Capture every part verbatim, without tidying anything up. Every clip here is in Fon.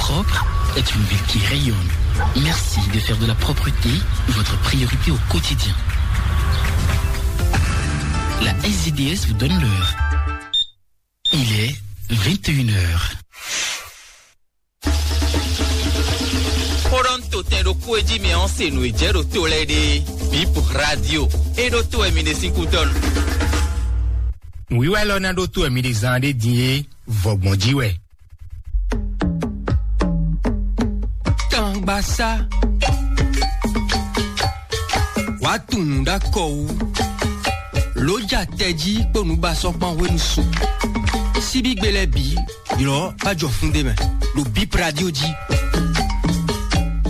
Propre est une ville qui rayonne. Merci de faire de la propreté votre priorité au quotidien. La S D D S vous donne l'heure. Il est vingt et une heures. Xó ɖɔ nú to tɛn ɖokpó e jí mɛ ɔ́ se nǔ e jɛ ɖo to lɛ́ɛ ɖe. Bip Radio e ɖó to wɛ mi ɖe sín kútɔ́ nu. Nǔwiwa élɔ́ ná ɖó to wɛ mi ɖe zán ɖé din é, vɔgbɔn jí wɛ. Tangbasá. Wàá tunwun ɖó akɔ wú. Lǒ ja tɛjí kpó nǔbasɔ́kpán hwenu su. Síbígbe lɛ́ɛ bǐ ylɔ́ bá jɔ fún ɖé mɛ ɖo Bip Radio jí.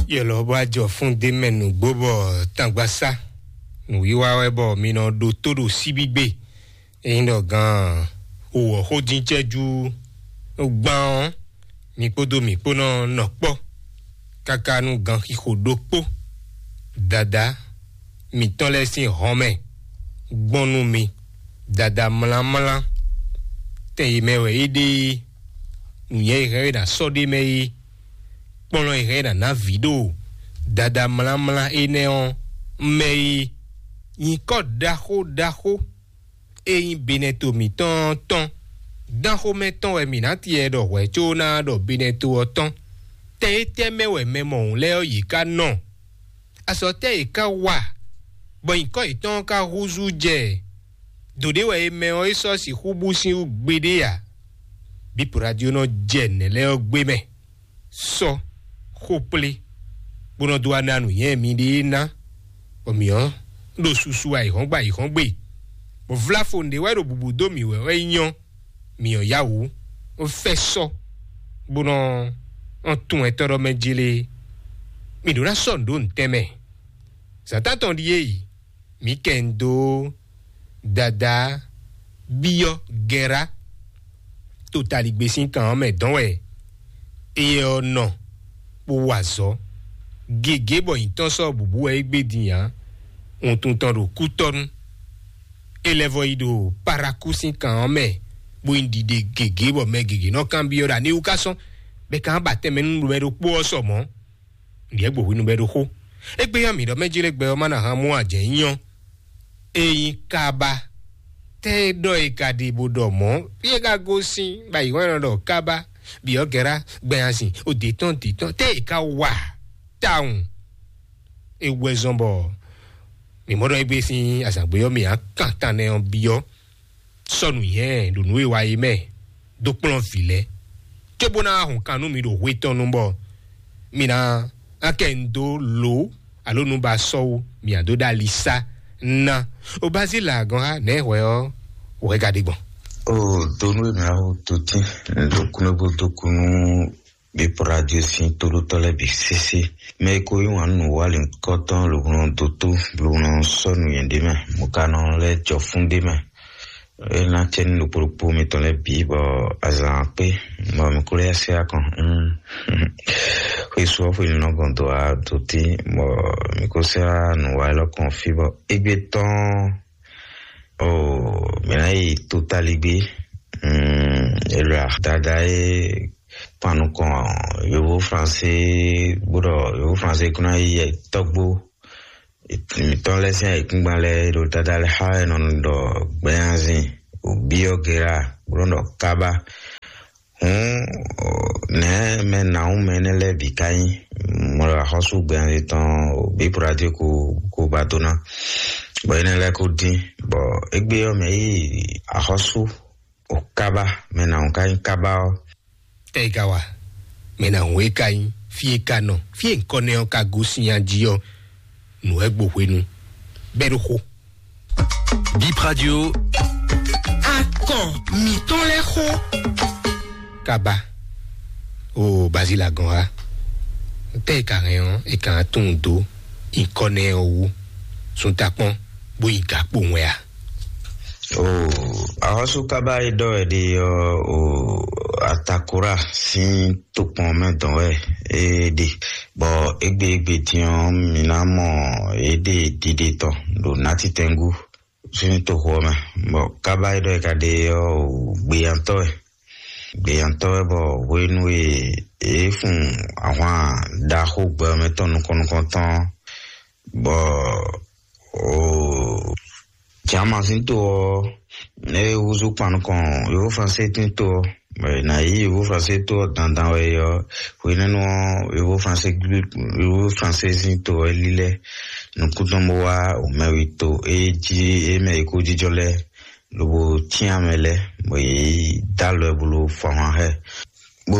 Ylɔ́ bá jɔ fún ɖé mɛ nǔgbó bɔ tangbasá. Nǔwiwa wɛ bɔ mi nɔ ɖótó ɖo síbígbe. Ényí ɖɔ gan wǔwɔ xó dín cɛ́jú gbán ɔ́, mi kpódó mǐ kpó nɔ nɔ kpɔ́ káká nú ganxixo ɖokpó. Dadá mǐtɔn lɛ́ɛ sín hɔn mɛ gbɔn nú mi, Dadá mlánmlá. Tɛn e mɛ wɛ é ɖe é, nǔnywɛ́ e hɛn é ná sɔ́ ɖ'é mɛ é, kplɔ́n e hɛn é ná ná vǐ ɖo Dadá mlánmlá énɛ́ ɔ́ mɛ é. Nyǐkɔ ɖaxó ɖaxó e nyí Benɛto mǐtɔn ɔ́ tɔn. Dán xomɛ tɔn wɛ mǐ ná tiɛ ɖɔ hwɛ̌ có ná ɖɔ Benɛto ɔ́ tɔn. Tɛn étɛ́ mɛ wɛ mɛ mɔ̌hun lɛ́ɛ ɔ́ yě ká nɔ? Azɔ̌ tɛ́ yě ká wa, bɔ nyǐkɔ yětɔn ɔ́ ká húzú jɛ? Dǒ ɖé wɛ è mɛ ɔ́ é sɔ́ sixú bú sín wú gbeɖé ǎ. Bípo radio nɔ jɛ nɛ̌ lɛ́ɛ ɔ́ gbé mɛ. Sɔ́ xó kplé, bó nɔ dó wá ná nǔnywɛ́ miɖée ná, bɔ mǐ ɔ́ ɖo susu ayǐhɔ́ngbe ayǐhɔ́ngbe, bɔ vláfo nǔɖé wɛ ɖo bǔbú dó mǐ wɛ wɛ nyɔ́. Mǐ ɔ́ yá wǔ, bó fɛ́ sɔ́, bó nɔ nɔ tun ɛtɔ́ ɖɔ mɛ jlé. Mǐ ɖó ná sɔ́ nǔ ɖó ntɛ́n mɛ. Zǎn tántɔn ɖíe yi, mǐ kɛ ń dó Dadá byɔ́ Gɛra to taligbé sín kan ɔ́ mɛ dɔn wɛ éyɛ́ ɔ́ nɔ, bó wa azɔ̌ gěgé bɔ nyǐtɔn sɔ́ bǔbú wɛ é gbé din ǎ. Wuntun tɔn ɖo kútɔ́nú. É lɛ́ vɔ yi ɖo Parakú sín kan ɔ́ mɛ, bó nyí ɖiɖe gěgé bɔ mɛ gěgé nɔ kanbyɔ́ ɖɔ aniwú ká sɔ́n, bɔ é ka ba tɛnmɛ nú mɛ ɖokpó ɔ́ sɔ mɔ̌. Ɖyɛ̌ gbo hwenu bɔ é ɖo xó. Égbé ɔ́, mǐ ɖɔ mɛ jlé gbɛ ɔ́ má ná hán mú ajɛ̌ nyí ɔ́. Ényí kaba tɛ́ ɖɔ è ka ɖe bó ɖɔ mɔ̌, fí e ka gosín bɔ ayǐhɔ́n e nɔ ɖɔ kaba, byɔ̌ Gɛra, gbɛnyasin, o dě tɔn dě tɔn, tɛ́ è ka wa tawun? É wɛ zɔ́n bɔ mǐ mɔ ɖɔ égbé sín azǎngbé ɔ́ mǐ á kan tan nɛ ɔ́ byɔ́. Sɔ́ nǔnywɛ́ ɖo nǔ e wa é mɛ dó kplɔ́n vǐ lɛ́ɛ, cóbó ná wá hun kan nú mi ɖo hwe tɔn nu bɔ mi ná ná kɛ nu dó lǒ alo nu ba sɔ́ wú, mi ǎ dó ɖó ali sá ná. O Bazíla gɔ́n xá nɛ̌ hwɛ ɔ́, hwɛ ka ɖe gbɔn? O donu e mɛ awo to tín, ɖo kúnlé bó dó kú nú bí pɔ́ radio sín tóɖótɔ́ lɛ́ɛ bǐ sésé. Mɛ e ko yí wǎn nú nǔwalǐnkɔ́tɔn lǒ nɔ dó tó, lǒ nɔ sɔ́ nǔnywɛ́ ɖé mɛ, mɔ̌ ka nɔ lɛ́ jɔ fún ɖé mɛ. É ná cɛ nú ɖokpó ɖokpó mitɔn lɛ́ɛ bǐ bɔ azǎn kpé, bɔ mǐ kó lɛ́ se akɔn. Xwesú ɔ́ xwe nɔ gɔn dó a dó tí, bɔ mǐ kó sɛ́ nǔ wa élɔ́ kɔn fí bɔ égbé tɔn. O mǐ ná yi totalígbé. Elɔ́ dada é kpan nukɔn yǒvó fransé, bó ɖɔ yǒvó fransé kún ná yi tɔ́gbó. Mǐtɔn lɛ́ɛ sín ayǐkúngban lɛ́ɛ ɖo dada lɛ́ɛ xá wɛ nɔ ɖɔ gbɛnyanzin, òbí ɔ́ gera, bó nɔ ɖɔ kaba. Hǔn nɛ̌ mɛ nǎwún mɛ énɛ́ lɛ́ɛ bǐ ka nyí? Mɔ ɖɔ axɔ́sú gbɛnyanzin tɔn òbí prodadé ko ko ba dó ná, bɔ énɛ́ lɛ́ɛ ko dín, bɔ égbé ɔ́ mɛ yí axɔ́sú o kaba, mɛ nǎwún ka nyí kaba ɔ́. Tɛ e ka wa? Mɛ ná hun e ka nyí, fí e ka nɔ, fí e ŋkɔ nɛ ɔ́ ka gosín nya jí ɔ́, nǔ wɛ gbo hwenu bɛ́ ɖó xó. Bip Radio. Akɔn mǐtɔn lɛ́ɛ xó. Kaba. O Bazila gɔn ha. Tɛ e ka hɛn ɔ́, e ka tunwun dó ŋkɔ nɛ ɔ́ wú. Sun takpɔn bó yi gǎkpo wɛn a? O axɔ́sú kaba e ɖɔ wɛ ɖe ɔ́, o Atakora sín tokpɔn mɛ dɔn wɛ é ɖe, bɔ égbé égbé din ɔ́, mǐ ná mɔ yě ɖe ɖiɖe tɔn ɖo nátitɛngú sín toxo ɔ́ mɛ, bɔ kaba e ɖɔ é ka ɖe ɔ́, o gbeyantɔ́ wɛ. Gbeyantɔ́ wɛ bɔ hwenu e yě fun ahwan ɖaxó gbɛ ɔ́ mɛ tɔn nukɔn nukɔn tɔn, bɔ o Jama sín to ɔ́, é húzú kpan nukɔn Yovo Fransé sín to ɔ́, bɔ è nǎ yí Yovo Fransé to ɔ́ dandan wɛ é ɔ́, hwenɛ́nu ɔ́, Yovo Fransé Yovo Fransé sín to ɔ́ é lílɛ́ nukún tɔn bó wá wǒmɛwi to e jí e mɛ è ko jínjɔ́n lɛ́ɛ, lobo cyán mɛ lɛ́ɛ, bɔ yě dó alɔ ɛ bó ló fɔ ahwan xá ɛ, bó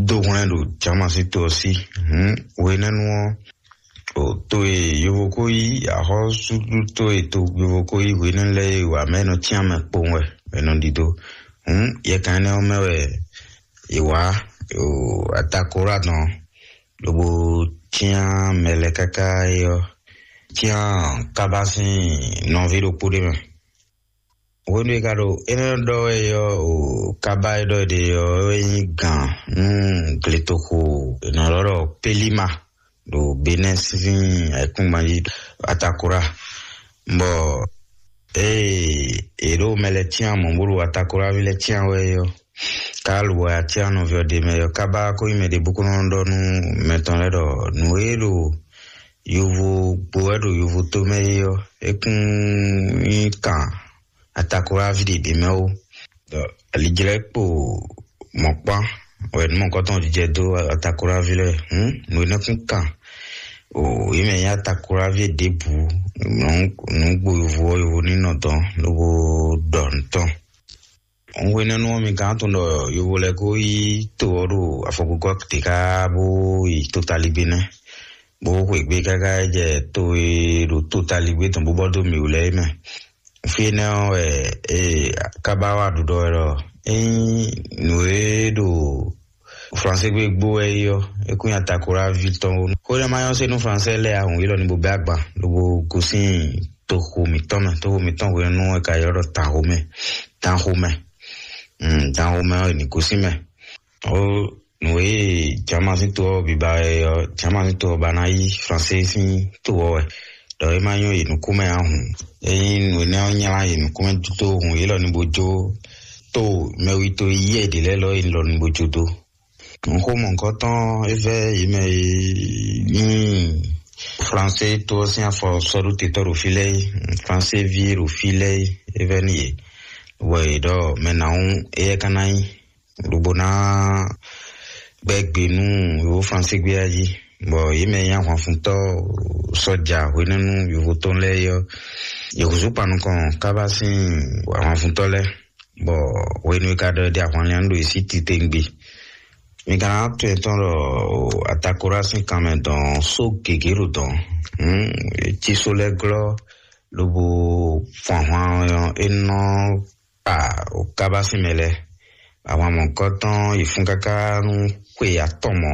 dó hwlɛ́n ɖo Jama sín to ɔ́ sí. Hǔn hwenɛ́nu ɔ́, o to e yovo ko yí axɔ́súɖuto e to yovo ko yí hwenɛ́nu lɛ́ɛ e wa mɛ nɔ cyán mɛ kpowun wɛ è nɔ ɖidó. Hǔn yɛkan énɛ́ ɔ́ mɛ wɛ è wǎ o Atakola tɔn, lobo cyán mɛ lɛ́ɛ káká é ɔ́, cyán Kaba sín nɔví ɖokpó ɖé mɛ. Hwenu e ka ɖo énɛ́ ɖɔ wɛ é ɔ́, o Kaba e ɖɔ è ɖe ɔ́ é nyí gǎn nú gletoxo è nɔ ylɔ́ ɖɔ Pelima ɖo Benɛ́ sín ayǐkúngban jí, Atakora. Bɔ ée è ɖo mɛ lɛ́ɛ cyán mɔ̌ bó ɖo Atakoraví lɛ́ɛ cyán wɛ é ɔ́, ka lǒ wɛ acyán nɔví ɔ́ ɖe mɛ ɔ́, Kaba ko nyí mɛ ɖěbǔ ko nɔ ɖɔ nú mɛ tɔn lɛ́ɛ ɖɔ nǔ e ɖo yovo gbo wɛ ɖo yovo tó mɛ é ɔ́, é kún nyí kan Atakoraví ɖě ɖě mɛ ó. Ɖɔ alijlɛ́ kpo mɔ̌kpán wɛ nǔ mɔ̌kɔtɔn jɛ dó Atakoraví lɛ́ɛ. Hǔn nǔ énɛ́ kún kan o yě mɛ nyí Atakoraví ɖěbǔ, nǔ gbo yovo ɔ́, yovo ní nɔ dɔn lobo ɖɔ nǔ tɔn. Hwenɛ́nu ɔ́, mi gán tunwun ɖɔ yovo lɛ́ɛ ko yí to ɔ́ ɖo afɔkúkɔ te káká bó yi tótalígbé nɛ́, bó xweyǐgbe káká yi jɛ to e ɖo tótalígbé tɔn bó bɔ dó mǐ wú lɛ́ɛ é mɛ. Fí énɛ́ ɔ́ wɛ e Kaba wá ɖuɖɔ wɛ ɖɔ ényí nǔ e ɖo Fransé gbé gbó wɛ é ɔ́, é kún nyi Atakoraví tɔn ó. Xó énɛ́ ma nyɔ́ se nú Fransé lɛ́ɛ ahun élɔ́ ní bó bɛ́ agban, lobo gosín toxo mǐtɔn mɛ. Toxo mǐtɔn hwenu ɔ́ è ka ylɔ́ ɖɔ Danxomɛ. Danxomɛ. Mm, Danxomɛ ɔ́, è nǐ gosín mɛ. Ó nǔ e Jama sín to ɔ́ biba wɛ ɔ́, Jama sín to ɔ́ ba ná yí Fransé sín to ɔ́ wɛ. Ɖɔ é ma nyɔ́ yě nukún mɛ ǎ hǔn. Ényí nǔ énɛ́ ɔ́ nylá yě nukún mɛ dó hun yě lɔ ní bó jó to mɛwi to yí ɛ ɖě lɛ́ɛ lɔ é lɔ ní bó jó dó. Nǔxomɔ̌kɔtɔn é vɛ́ yě mɛ e nyí Fransé to ɔ́ sín afɔ sɔ́ɖótetɔ́ ɖo fí lɛ́ɛ é, Fransé ví e ɖo fí lɛ́ɛ é, é vɛ́ nú yě. Bɔ yě ɖɔ mɛ nǎ wún éyɛ́ ka ná nyí, lobo ná gbɛ́ gbe nú yovo Fransé gbé ɔ́ jí, bɔ yě mɛ e nyí ahwanfuntɔ́ sɔ́ja hwenɛ́nu yovo tɔn lɛ́ɛ é ɔ́, yě húzú kpan nukɔn Kaba sín ahwanfuntɔ́ lɛ́ɛ, bɔ hwenu e ka ɖɔ è ɖe ahwanlɛ́n ɔ́ ɖo yě sí titewungbe. Mi ka ná tunwun tɔn ɖɔ Atakola sín kanmɛ dɔn só gěgé ɖo dɔn. Hǔn cí só lɛ́ɛ glɔ́ lobo fun ahwan ɔ́ é nɔ kpa Kaba sín mɛ lɛ́ɛ. Ahwan mɔ̌kɔtɔn yi fún káká nú xwe atɔn mɔ̌.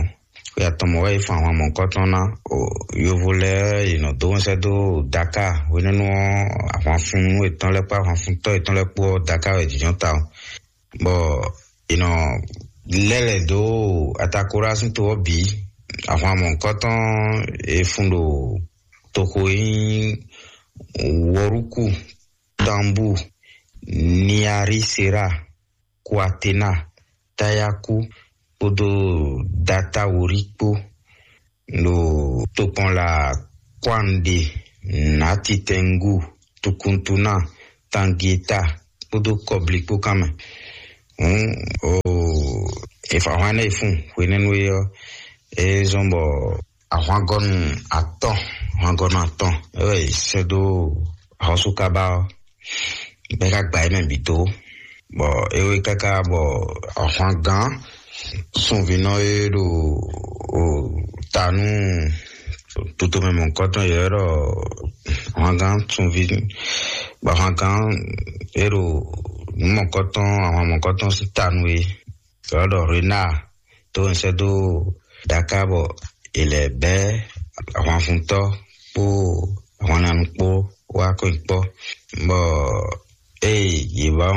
Xwe atɔn mɔ̌ wɛ yi fun ahwan mɔ̌kɔtɔn ná. O yovo lɛ́ɛ yi nɔ dó wɛnsɛ́ dó Daka hwenɛ́nu ɔ́, ahwanfún yětɔn lɛ́ɛ kpó ahwanfuntɔ́ yětɔn lɛ́ɛ kpó ɔ́, Daka wɛ jǐnjɔ́n ta ɔ́. Bɔ è nɔ lɛ́ lɛ̌ dó Atakola sín to ɔ́ bǐ. Ahwan mɔ̌hunkɔtɔn e fun ɖo toxo e nyí Wɔrúku, Tanbú, Niarisera, Kuatena, Tayaku kpódó Datawori kpó ɖo tokpɔnla Kwande, Natitɛngu, Tukuntuna, Tangieta kpódó Kɔbli kpó kan mɛ. Hǔn o e fa hwan nɛ e fun hwenɛ́nu é ɔ́, é zɔ́n bɔ ahwangɔnu atɔn, ahwangɔnu atɔn é wɛ è sɛ́ dó axɔ́sú Kaba ɔ́, bɔ é ka gba yě mɛ bǐ dó. Bɔ é wé káká bɔ ahwangán sunvínɔ e ɖo o ta nú tutomɛ mɔ̌hunkɔtɔn yě wɛ ɖɔ ahwangán sunví, bɔ ahwangán e ɖo nǔ mɔ̌hunkɔtɔn, ahwan mɔ̌hunkɔtɔn sín ta nú é, yě wɛ ɖɔ Renáa tó ń sɛ́ dó Daká bɔ è lɛ̌ bɛ́ ahwanfuntɔ́ kpó ahwannanu kpó wá kɔn kpɔ́, bɔ ée yě wá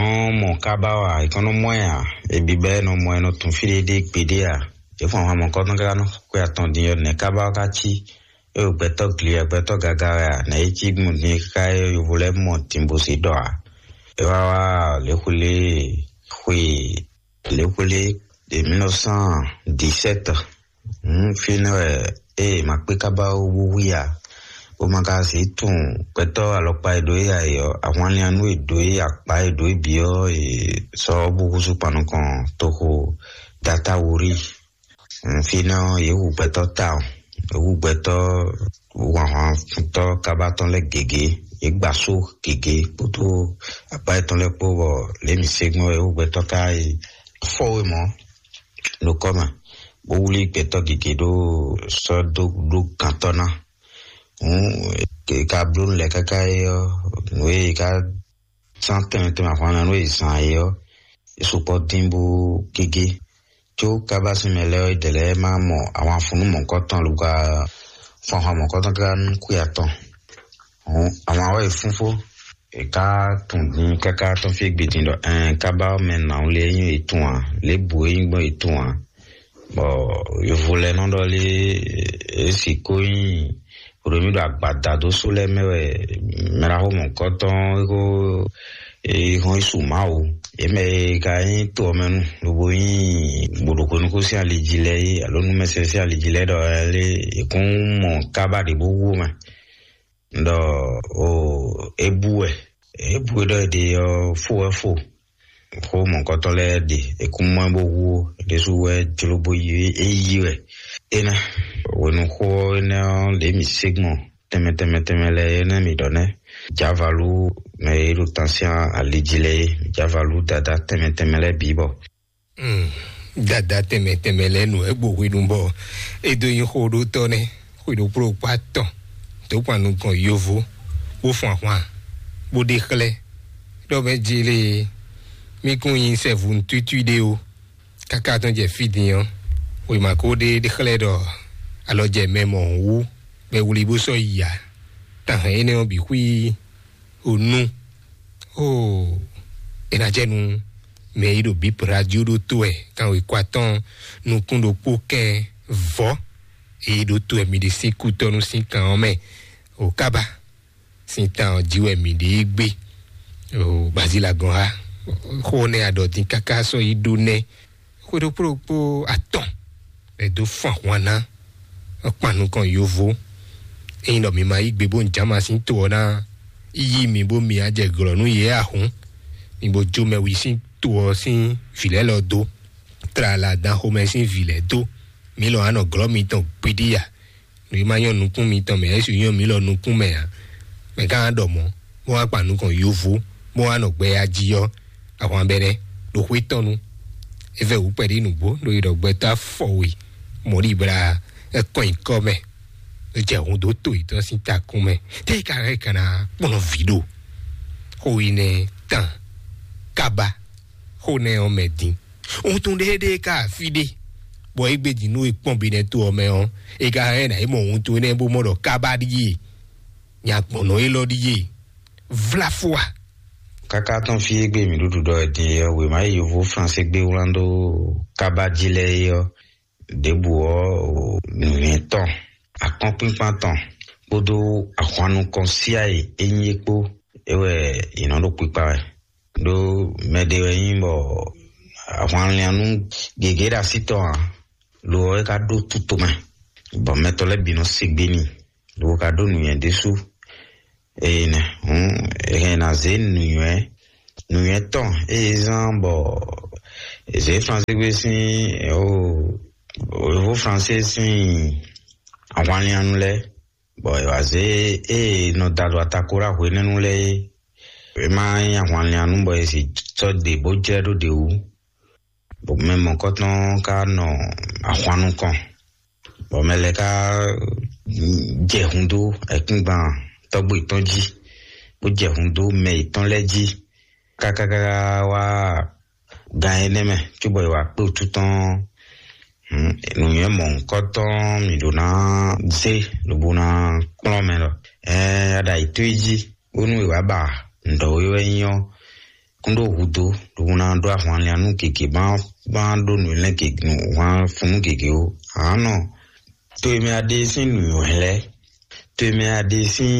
mɔ Kaba ɔ́ ǎ, è kɔn nɔ mɔ ɛ ǎ. È bǐ bɔ è nɔ mɔ ɛ nɔ tunwun fí ɖé ɖé gbeɖé ǎ. Yě fun ahwan mɔ̌hunkɔtɔn káká nɔ xwe atɔn din ɔ́, nɛ̌ Kaba ɔ́ ka cí? É ɖo gbɛtɔ́ gli wɛ, gbɛtɔ́ gaga wɛ a? Nɛ̌ é cí gbɔn din káká é yovo lɛ́ɛ mɔ din bó se ɖɔ ǎ? É wá wá lě xwlé xwe Lě xwlé de mille neuf cent dix-sept. Fínɛ́ wɛ ée ma kpé kábá wú wí ǎ, bó ma ka zǐ tunwun gbɛtɔ́ alɔkpa e ɖo é ǎ é ɔ́, ahwanliannú e ɖo é, akpa e ɖo é bǐ ɔ́, è sɔ́ bó húzú kpan nukɔn toxo Datawuri. Fínɛ́ ɔ́, yě hu gbɛtɔ́ tawun, yě hu gbɛtɔ́ wanhwantɔ́ kábá tɔn lɛ́ɛ gěgé, yě gba só gěgé kpódó akpa yětɔn lɛ́ɛ kpó, bɔ lě mǐ se gbɔn wɛ yě hu gbɛtɔ́ ká yi fɔ́ we mɔ̌ ɖo kɔ́ mɛ, bó wlí gbɛtɔ́ gěgé ɖó sɔ́ dó ɖó gantɔ́ ná. Hǔn è ka bló nǔ lɛ́ɛ káká é ɔ́, nǔ e è ka zán tɛnmɛ tɛnmɛ ahwan ná nú è zǎn é ɔ́, é sukpɔ́ dín bó gégé. Có kábá sín mɛ lɛ́ɛ ɔ́, é dɛ lɛ́ɛ má mɔ ahwanfunnú mɔ̌kɔtɔn lobɔ fɔnhɔn mɔ̌kɔtɔn káká nú kwíatɔn. Hǔn ahwan ɔ́ e fúnfó, è ká tunwun din káká tɔn fí gbe din ɖɔ ɛn kábá ɔ́ mɛ nǎwlé nyí etun ǎ, lěbǔ e nyí gbɔn etun ǎ. Bɔ yovo lɛ́ɛ nɔ ɖɔ lé, é sixú nyí hwelómí ɖo agbada dó só lɛ́ɛ mɛ wɛ mɛɖaxó mɔ̌kɔtɔn é ko é hɔn yi su Mawu. Yě mɛ e ka nyí to ɔ́ mɛ nu lobo nyí gbǒɖoxónúkó sín ali jí lɛ́ɛ é, alo númɛsɛn sín ali jí lɛ́ɛ ɖɔ lé è kún mɔ kábá ɖě bó wú mɛ. Ɖɔ o é bú wɛ, é bú wɛ ɖɔ è ɖe ɔ́ fó wɛ fo. Xó mɔ̌kɔtɔn lɛ́ɛ ɖe è kún mɔ ɛ bó hu ó, é ɖésú wɛ jló bó yi é yí wɛ. Énɛ́ hwenuxó énɛ́ ɔ́, lě mǐ sé gbɔn tɛnmɛ tɛnmɛ tɛnmɛ lɛ́ɛ énɛ́ mǐ ɖɔ nɛ́. Jávalú mɛ e ɖo tansyɛn ali jí lɛ́ɛ é, jávalú dadá tɛnmɛ tɛnmɛ lɛ́ɛ bǐ bɔ. Hmm, dada tɛnmɛ tɛnmɛ lɛ́ɛ nǔ wɛ gbo hwenu bɔ é dó nyí xó ɖó tɔ́ nɛ́. Xwe ɖokpó ɖokpó atɔn dó kpan nukɔn yovo, bó fun ahwan, bó ɖe xlɛ́ ɖɔ mɛ jele mí kún nyi sɛvu nǔtútúí ɖé ó. Káká tɔn jɛ fí din ɔ́, wěma ko ɖe ɖe xlɛ́ ɖɔ alɔ jɛ mɛ mɔ wú bɛ wlí bó sɔ́ yi ǎ. Tán hɛn énɛ́ ɔ́ bǐ xwí o nú. Oo, é ná jɛ nú mɛ e ɖo bǐ radio ɖó tó wɛ kanwekwa tɔn nukún ɖokpó kɛn vɔ̌. Eye ɖó tó wɛ mi ɖe sín kútɔ́nú sín kan ɔ́ mɛ o kábá sín tan ɔ́ jí wɛ mi ɖe é gbé. O bazilagɔn ha xó nɛ aɖɔ dín káká sɔ́ yi ɖó nɛ. Xwe ɖokpó ɖokpó atɔn è dó fun ahwan ná kpan nukɔn yovo. Ényí ɖɔ mi ma yí gbe bó un jǎma sín to ɔ́ ná yí mi bó mi á jɛ glɔ̌ nú yě ahǔn, mi bo jó mɛ wi sín to ɔ́ sín vǐ lɛ́ɛ lɔ dó, tlala dan xomɛ sín vǐ lɛ́ɛ dó. Mi lɔ anɔ glɔ́ mitɔn gbiɖiya. Nǔ e ma nyɔ́ nukún mitɔn mɛ, é su nyɔ́ mǐ lɔ nukún mɛ ǎ. Mɛ gán ɖɔ mɔ̌, bó wá kpa nukɔn yovo, bó wá nɔ gbɛya jí ɔ́, ahwan bɛnɛ ɖo xwé tɔn nu. É vɛ wǔ kpɛɖí nǔgbó ɖo yi ɖɔ gbɛtɔ́ afɔ we mɔ̌ ɖi bla é kɔn nyǐkɔ mɛ, é jɛ hun dó to yětɔn sín takún mɛ. Tɛ́ ka hɛn kana kplɔ́n vǐ ɖo xó yi nɛ tán kaba xó nɛ ɔ́ mɛ din. Wuntun ɖéɖéé ka afi ɖé, bɔ é gbé jǐ nú è kpɔ́n binɛ to ɔ́ mɛ ɔ́, é ka hɛn ná é mɔ wuntun énɛ́ bó mɔ ɖɔ kábá ɖíe, nya gbɔ̌nɔ élɔ́ ɖíe, vláfóa. Káká tɔn fí é gbé mǐ ɖuɖu ɖɔ è din é ɔ́, wěma e yovo Fransé gbé wlán dó kábá jí lɛ́ɛ é ɔ́, ɖěbǔ ɔ́, nǔnywɛ́ tɔn, akɔ́nkpínkpán tɔn kpódó ahwan nukɔn síá e é nyí é kpó, é wɛ è nɔ ɖo kpikpa wɛ. Ɖó mɛ ɖé wɛ nyí bɔ ahwanliannú gěgé ɖo así tɔn ǎ, lo ɔ́ é ka ɖó tuto mɛ, bɔ mɛtɔ́ lɛ́ɛ bǐ nɔ se gbe n'i, lo ka ɖó nǔnywɛ́ ɖésú. Eye nɛ hǔn è hɛn ná zě nǔnywɛ́ nǔnywɛ́ tɔn eye zán bɔ è zě Fransé gbé sín o Fransé sín ahwanliannú lɛ́ɛ, bɔ è wǎ zé ée nɔ da ɖo atako ɖó hwenɛ́nu lɛ́ɛ é. É má nyí ahwanliannú bɔ è sì sɔ́ ɖe bó jlɛ́ ɖó ɖě wú. Bɔ mɛ mɔ̌kɔtɔn ka nɔ ahwan nukɔn, bɔ mɛ lɛ́ɛ ka jɛ hun dó ayǐkúngban tɔ́gbó yětɔn jí, bó jɛ hun dó mɛ yětɔn lɛ́ɛ jí kákákáká wá gan énɛ́ mɛ, cóbɔ è wǎ kpé wútu tɔn. Nǔnywɛ́ mɔ̌hunkɔtɔn mǐ ɖó ná zé lobo ná kplɔ́n mɛ ɖɔ ɛɛ aɖa yětɔn yi jí, bónú è wǎ ba nǔɖɔ e wɛ nyí ɔ́ kún ɖó hudó lobo ná ɖó ahwanlian nú gěgé má má ɖó nǔ lɛ́ɛ gěgé nǔ hwan fun nú gěgé ó. Ǎnɔ to e mɛ a ɖe sín nǔnywɛ́ lɛ́ɛ, to e mɛ a ɖe sín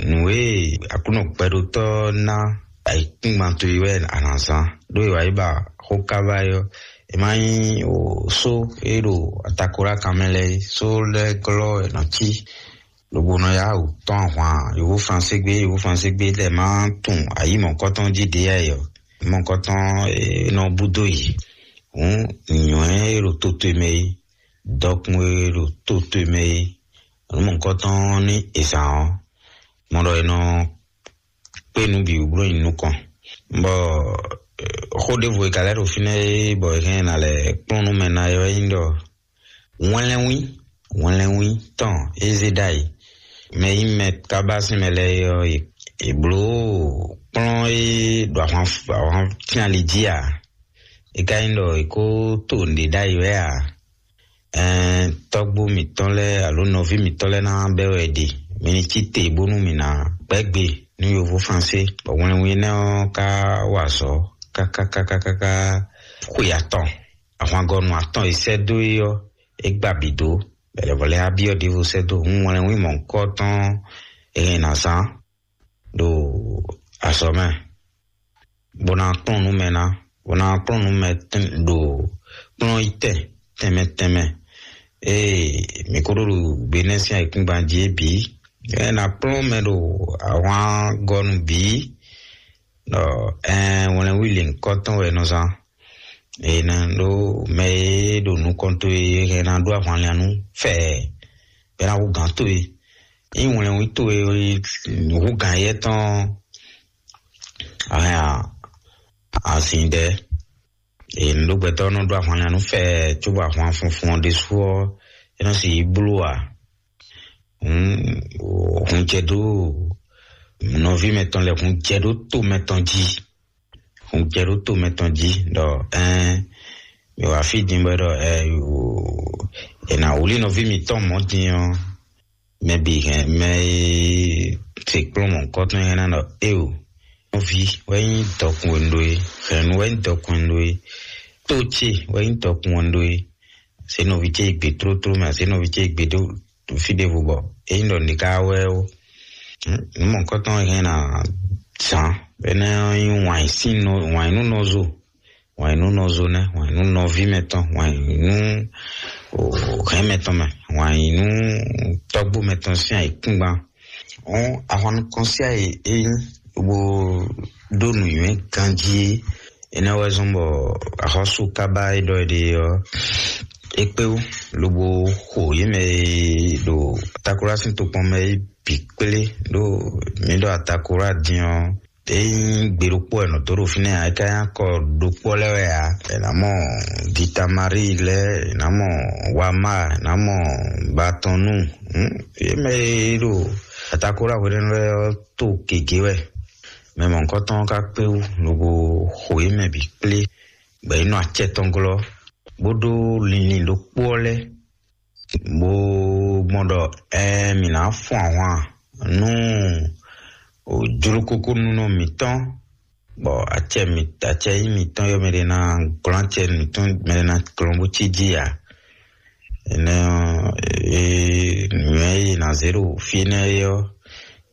nǔ e Aklúnɔ gbɛɖótɔ́ ná ayǐkúngban towe wɛ a nǎ zán, ɖó è wǎ yi ba xó káva é ɔ́, E ma nyí o só e ɖo atakola kan mɛ lɛ́ɛ é, só lɛ́ɛ glɔ́ wɛ è nɔ cí, lobo nɔ yá wǔ tɔ́n ahwan yǒhó Fransé gbé, yǒhó Fransé gbé lɛ́ɛ ma tunwun ayǐ mɔ̌kɔtɔn jí ɖě yá yɔ. Mɔ̌kɔtɔn e nɔ búdó yě. Hǔn nǔnywɛ́ e ɖo toto e mɛ é, dɔkun e ɖo toto e mɛ é, nǔ mɔ̌kɔtɔn ní è zǎn ɔ́, mɔ ɖɔ è nɔ kpé nǔ bǐ bló nyi nukɔn. Bɔ xó ɖěvo e ka lɛ́ ɖo fínɛ́ é, bɔ è hɛn ná lɛ́ kplɔ́n nú mɛ ná é wɛ nyí ɖɔ wɛnlɛnwí, wɛnlɛnwí tɔn é zé ɖ'ayǐ. Mɛ nyí mɛ kábá sín mɛ lɛ́ɛ é ɔ́, è blǒ kplɔ́n é ɖo ahwan ahwan fínali jí a? É ka nyí ɖɔ è kó to nǔɖé ɖ'ayǐ wɛ a? Ɛɛn, tɔ́gbó mǐtɔn lɛ́ɛ alo nɔví mǐtɔn lɛ́ɛ ná bɛ́ wɛ ɖe. Mi ní cí te bónú mǐ ná gbɛ́ gbe nú yovó Fransé, bɔ wɛnlɛnwí énɛ́ ɔ́ ka wa azɔ̌ káká káká káká xwe atɔn. Ahwangɔnu atɔn e sɛ́ dó é ɔ́, é gba bǐ dó. Bɛlɛvɔ lɛ́ɛ á byɔ́ ɖěvo sɛ́ dó. Hǔn wɛnlɛnwí mɔ̌hunkɔtɔn e hɛn ná zán ɖo azɔ̌ mɛ, bó ná kplɔ́n nú mɛ ná, bó ná kplɔ́n nú mɛ ɖo kplɔ́n yi tɛn tɛnmɛ tɛnmɛ. Ée mǐ kó ɖo ɖo gbe nɛ́ sín ayǐkúngban jí é bǐ, é ná kplɔ́n mɛ ɖo ahwangɔnu bǐ, ɖɔ ɛɛn wɛnlɛnwí lěhunkɔtɔn wɛ è nɔ zán. È nɔ ɖó mɛ e ɖo nukɔn towe e hɛn ná ɖó ahwanlɛ́nnú fɛɛ, bɔ é ná hú gǎn towe. Ényí wɛnlɛnwí towe hú gǎn éyɛ́ tɔn a hɛn azin ɖɛ. È nǔɖogbɛtɔ́ nɔ ɖó ahwanlɛ́nnú fɛɛ cóbɔ ahwan funfun ɔ́ ɖésú ɔ́, é nɔ sixú bló ǎ. Hun jɛ ɖó nɔví mɛtɔn lɛ́ɛ, hun jɛ ɖó to mɛtɔn jí, hun jɛ ɖó to mɛtɔn jí ɖɔ ɛɛn mi wá fí din bɔ ɖɔ ɛ è nǎ wlí nɔví mǐtɔn mɔ̌ din ɔ́, mɛ bǐ hɛn mɛ e se kplɔ́n mɔ̌hunkɔtɔn hɛn ná ɖɔ éeǒ, nɔví wɛ nyí dɔkun e un ɖó é, hɛ̌nnu wɛ nyí dɔkun e un ɖó é, tó ce wɛ nyí dɔkun e un ɖó é. Zě nɔví ce yi gbe tlótló mɛ, zě nɔví ce yi gbe ɖó fí ɖěvo bɔ é nyí ɖɔ nǐ ká wɛ ó. Nǔ mɔ̌hunkɔtɔn e hɛn ná zǎn énɛ́ ɔ́ nyí wǎn yí sín nɔ, wǎn yí nú nɔzo, wǎn yí nú nɔzo nɛ́, wǎn yí nú nɔví mɛtɔn, wǎn yí nú hɛ̌n mɛtɔn mɛ, wǎn yí nú tɔ́gbó mɛtɔn sín ayǐkúngban. Ɔ́n ahwan nukɔn sín ayǐ é nyí bó ɖó nǔnywɛ́ ganjí é. Énɛ́ wɛ zɔ́n bɔ axɔ́sú kábá e ɖɔ é ɖe ɔ́, é kpé wú lobo xo yě mɛ e ɖo Atakolá sín tokpɔn mɛ é bǐ kplé ɖó mǐ ɖɔ Atakolá din ɔ́, é nyí gbe ɖokpó wɛ nɔ dó ɖo fínɛ́ ǎ, é ka nyí akɔ ɖokpó lɛ́ɛ wɛ ǎ. È nǎ mɔ Gitamaríi lɛ́ɛ, è nǎ mɔ Wamá, è nǎ mɔ Batɔnú. Yě mɛ e ɖo Atakolá hwenɛ́nu lɛ́ɛ ɔ́ to gěgé wɛ. Mɛ mɔ̌hunkɔtɔn ɔ́ ka kpé wú lobo xo yě mɛ bǐ kplé, bɔ yě nɔ acɛ tɔn glɔ́, bó ɖó linlin ɖokpó ɔ́ lɛ́ɛ, bó gbɔn ɖɔ ɛɛ mǐ ná fun ahwan nú jlokókónúnɔ mǐtɔn, bɔ acɛ mǐ acɛ nyí mǐtɔn yɔ mɛ ɖé ná glɔ́n acɛ mǐtɔn mɛ ɖé ná glɔ́n bó cí jí ǎ. Énɛ́ ɔ́, e nǔnywɛ́ e è nǎ zé ɖo fí énɛ́ é ɔ́,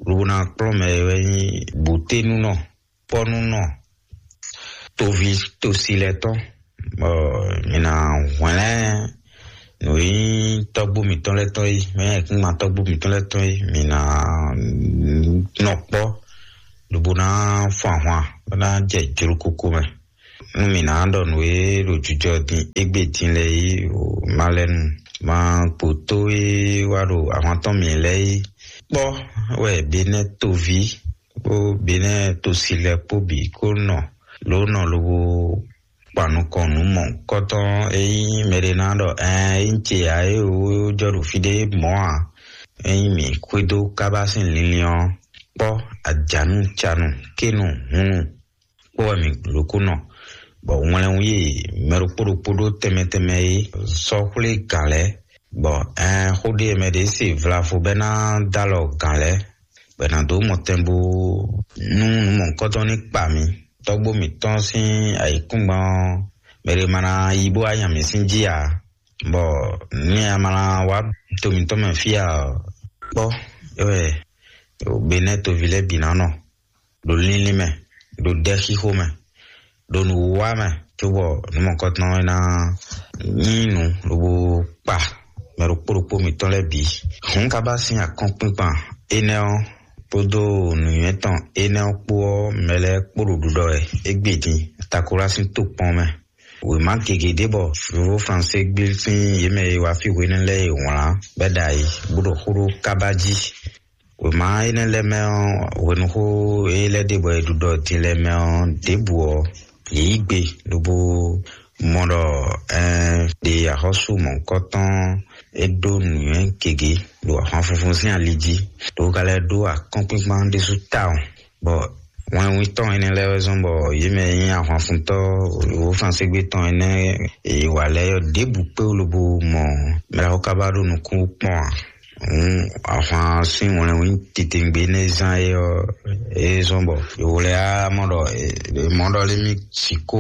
lobo ná kplɔ́n mɛ e wɛ nyí bǔténúnɔ, kpɔ́núnɔ, toví tosi lɛ́ɛ tɔn, bɔ mi ná hwlɛ́n nǔ e nyí tɔ́gbó mǐtɔn lɛ́ɛ tɔn é, mɛ e kún ma tɔ́gbó mǐtɔn lɛ́ɛ tɔn é, mi ná nɔ kpɔ́, lobo ná fun ahwan, bó ná jɛ jlokoko mɛ. Nú mǐ ná ɖɔ nǔ e ɖo jijɔ din égbé din lɛ́ɛ é, o ma lɛ́ nu, ma kpo tó e wá ɖo ahwan tɔn mǐ lɛ́ɛ é. Kpɔ́ wɛ Benɛ́ toví kpó Benɛ́ tosi lɛ́ɛ kpó bǐ kó nɔ lǒ nɔ lobo kpan nukɔn nǔ mɔ̌hunkɔtɔn e nyí mɛɖé ná ɖɔ ɛɛn é nyí ce ǎ é wǒ jɔ ɖo fí ɖé mɔ̌ ǎ. Ényí mǐ xwedó kábá sín linlin ɔ́, kpɔ́ ajǎnu canu kénu hunnu kpó wɛ mǐ lǒ kó nɔ, bɔ wɛnlɛnwú e mɛ ɖokpó ɖokpó ɖó tɛnmɛ tɛnmɛ é sɔ́ xwlé gǎn lɛ́ɛ, bɔ ɛɛn xó ɖé e mɛ ɖě se vlavo bɛ́ ná dó alɔ gǎn lɛ́ɛ, bɔ è nǎ dó mɔtɛn bó nú nǔ mɔ̌hunkɔtɔn ní kpa mǐ. Tɔ́gbó mǐtɔn sín ayǐkúngban ɔ́, mɛ ɖé ma ná yi bó wá nya mǐ sín jí ǎ, bɔ nú a ma ná wá to mǐtɔn mɛ fí ǎ ɔ́, kpɔ́ é wɛ Benɛ́ toví lɛ́ɛ bǐ ná nɔ ɖo linlin mɛ, ɖo ɖɛxixo mɛ, ɖo nǔwiwa mɛ, cóbɔ nǔ mɔ̌kɔtɔn é ná nyí nǔ lobo kpa mɛ ɖokpó ɖokpó mǐtɔn lɛ́ɛ bǐ. Hǔn ka ba sín akɔ́nkpinkpan énɛ́ ɔ́ kpódó nǔnywɛ́ tɔn énɛ́ ɔ́ kpó ɔ́, mɛ lɛ́ɛ kpó ɖo ɖiɖɔ wɛ égbé din, Takolá sín tokpɔn mɛ. Wěma gěgé ɖé bɔ Fofo Fransé gbé sín yě mɛ e wá fí hwenɛ́ lɛ́ɛ e wlǎn bɔ é ɖo ayǐ, bó ɖo xó ɖó kábá jí. Wěma énɛ́ lɛ́ɛ mɛ ɔ́, hwenuxó e lɛ́ ɖe bɔ è ɖu ɖɔ din lɛ́ɛ mɛ ɔ́, ɖěbǔ ɔ́, yě yí gbe lobo mɔ ɖɔ ɛɛ ɖe axɔ́sú mɔ̌hunkɔtɔn e ɖó nǔnywɛ́ gěgé ɖo ahwan funfun sín ali jí, ɖo ka lɛ́ ɖó akɔ́nkpinkpan ɖésú tawun, bɔ wɛnwítɔ́ énɛ́ lɛ́ɛ wɛ zɔ́n bɔ yě mɛ e nyí ahwanfuntɔ́ wǒ Fransígbe tɔn énɛ́ e wǎ lɛ́ɛ ɔ́, ɖěbǔ kpé wú lobo mɔ mɛɖaxó ká ba ɖo nukún kpɔ́n ǎ. Hǔn ahwan sín wɛnwín titewungbe énɛ́ zán é ɔ́, é zɔ́n bɔ yǒ lɛ́ɛ á mɔ ɖɔ mɔ̌ ɖɔ lé mì sixú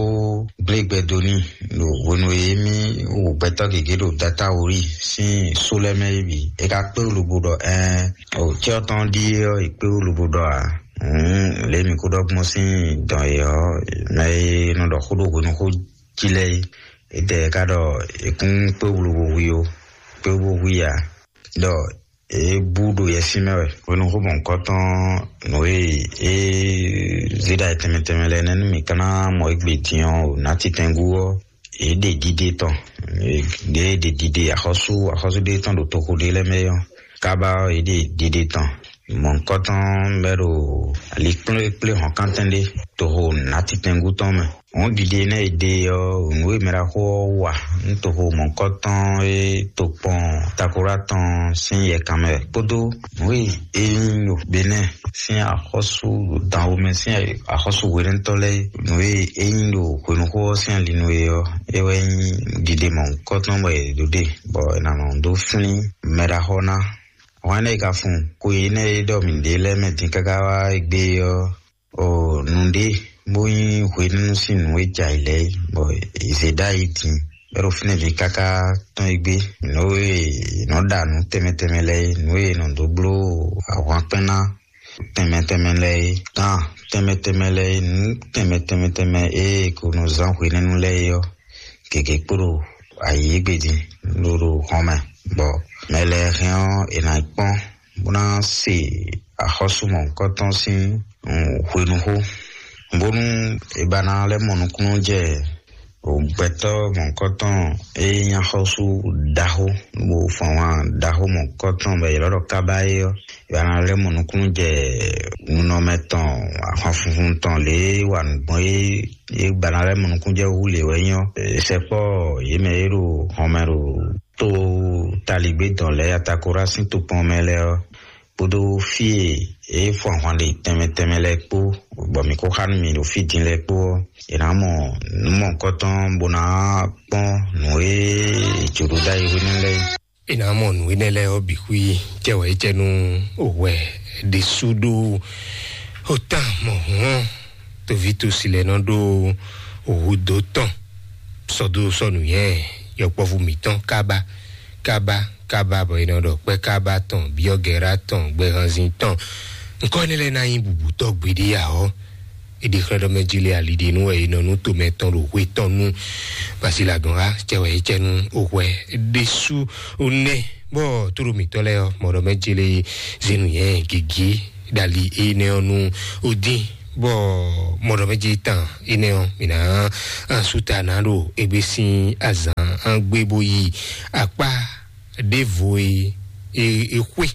gblé gbɛ dó n'i ɖo hwenu e émí wu gbɛtɔ́ gěgé ɖo Datawuli sín só lɛ́ɛ mɛ é bǐ. É ka kpé wú lobo ɖɔ ɛɛ o cyɔ tɔn ɖíe ɔ́, è kpé wú lobo ɖɔ ǎ. Hǔn lě mǐ kó ɖɔ gbɔn sín dɔn e ɔ́, mɛ e nɔ ɖɔ xó ɖo hwenuxó jí lɛ́ɛ é, étɛ́ ka ɖɔ è kún kpé wú lobo hu i ó, kpé wú bó hu i ǎ. Ɖɔ é bú ɖo yɛsín mɛ wɛ. Hwenuxó mɔ̌hunkɔtɔn nǔ e é zé ɖo ayǐ tɛnmɛ tɛnmɛ lɛ́ɛ nɛ́ nú mǐ ka ná mɔ égbé din ɔ́, o nǎ titɛngú ɔ́, yě ɖe ɖiɖe tɔn, yě ɖe ɖiɖe axɔ́sú axɔ́sú ɖé tɔn ɖo toxo ɖé lɛ́ɛ mɛ ɔ́, kábá ɔ́, yě ɖe ɖiɖe tɔn. Mɔ̌hunkɔtɔn bɛ́ ɖo ali kplékplé hɔ̌nkántɛn ɖé toxo nǎtitɛngú tɔn mɛ. Hɔ̌n ɖiɖe énɛ́ e ɖe ɔ́, nǔ e mɛ ɖaxó ɔ́ wa nú toxo mɔ̌hunkɔtɔn e tokpɔn Takolá tɔn sín yɛkan mɛ kpódó nǔ e é nyí ɖo Benɛ́ɛ sín axɔ́sú ɖo danwo mɛ sín axɔ́sú hwenɛ́tɔ́ lɛ́ɛ, nǔ e é nyí ɖo hwenuxó ɔ́ sín ali nu é ɔ́, é wɛ nyí ɖiɖe mɔ̌hunkɔtɔn bɔ è ɖǒ ɖe, bɔ è nǎ nɔ dó flín mɛ ɖaxó ná. Hwɛ̌n é ka fun ko énɛ́ e ɖɔ mǐ ɖe lɛ́ɛ mɛ din káká wá égbé ɔ́, o nǔɖé bó nyí hwenɛ́nu sín nǔ e jɛ ayǐ lɛ́ɛ é, bɔ è zě ɖó ayǐ din, bɔ é ɖo fínɛ́ din káká tɔ́n égbé. Nǔ e è nɔ ɖa nǔ tɛnmɛ tɛnmɛ lɛ́ɛ é, nǔ e è nɔ dó bló ahwankpɛ́n ná tɛnmɛ tɛnmɛ lɛ́ɛ é, gǎn tɛnmɛ tɛnmɛ lɛ́ɛ é, nǔ tɛnmɛ tɛnmɛ tɛnmɛ e è ko nɔ zán hwenɛ́nu lɛ́ɛ é ɔ́, gěgé kpo ɖo ayǐ égbé din ɖo ɖo hɔn mɛ, bɔ mɛ lɛ́ɛ hɛn ɔ́, è nǎ yi kpɔ́n bó ná se axɔ́sú mɔ̌hunkɔtɔn sín hwenuxó, bónú è ba ná lɛ́ mɔ nukúnnú jɛ gbɛtɔ́ mɔ̌hunkɔtɔn e nyí axɔ́sú ɖaxó, bó fɔ́n wǎn ɖaxó mɔ̌hunkɔtɔn bɔ è ylɔ́ ɖɔ kábá é ɔ́, è ba ná lɛ́ mɔ nukúnnú jɛ nunɔmɛ tɔn, ahwan funfun tɔn lě e wa nǔ gbɔn é, è ba ná lɛ́ mɔ nukúnnú jɛ hú lě wɛ nyí ɔ́, sɛkpɔ́ yě mɛ e ɖo hɔnmɛ ɖo to taligbé dɔn lɛ́ɛ, Atakorá sín tokpɔn mɛ lɛ́ɛ ɔ́, kpódó fí e é fɔ ahwan ɖe tɛnmɛ tɛnmɛ lɛ́ɛ kpó, bɔ mǐ ko xá nú mǐ ɖo fí din lɛ́ɛ kpó ɔ́, è nǎ mɔ nǔ mɔ̌hunkɔtɔn bó ná kpɔ́n nǔ e è jǒ ɖó ɖ'ayǐ hwenu lɛ́ɛ é. È nǎ mɔ nǔ énɛ́ lɛ́ɛ ɔ́ bǐ xwí cɛ wɛ é cɛ nú hwɛ ɖésú ɖó otán mɔ̌hun ɔ́, toví tosi lɛ́ɛ nɔ ɖó hǔdó tɔn sɔ́ dó sɔ́ nǔnywɛ́ yɔkpɔ́vú mǐtɔn kábá kábá kábá, bɔ è nɔ ɖɔ kpɛ́ kábá tɔn, byɔ́gɛ̌rá tɔn, gbɛhanzin tɔn. Nǔkɔ énɛ́ lɛ́ɛ ná nyí bǔbútɔ́ gbeɖé ǎ ɔ́, è ɖe xlɛ́ ɖɔ mɛ jí lé ali ɖe nú wɛ è nɔ nú tomɛ tɔn ɖo hwe tɔn nú. Basi lagɔn xá cɛ wɛ é cɛ nú ohwɛ ɖésú nɛ, bɔ tóɖo mǐtɔn lɛ́ɛ ɔ́, mɔɖɔ mɛ jí lé zenu yɛ gěgé ɖali énɛ́ ɔ́ nú odín, bɔ mɔɖɔ mɛ jí tán énɛ́ ɔ́, mǐ ná asúta ná ɖo égbé sín azǎn gbé bó yi akpá ɖěvo e e e xwé.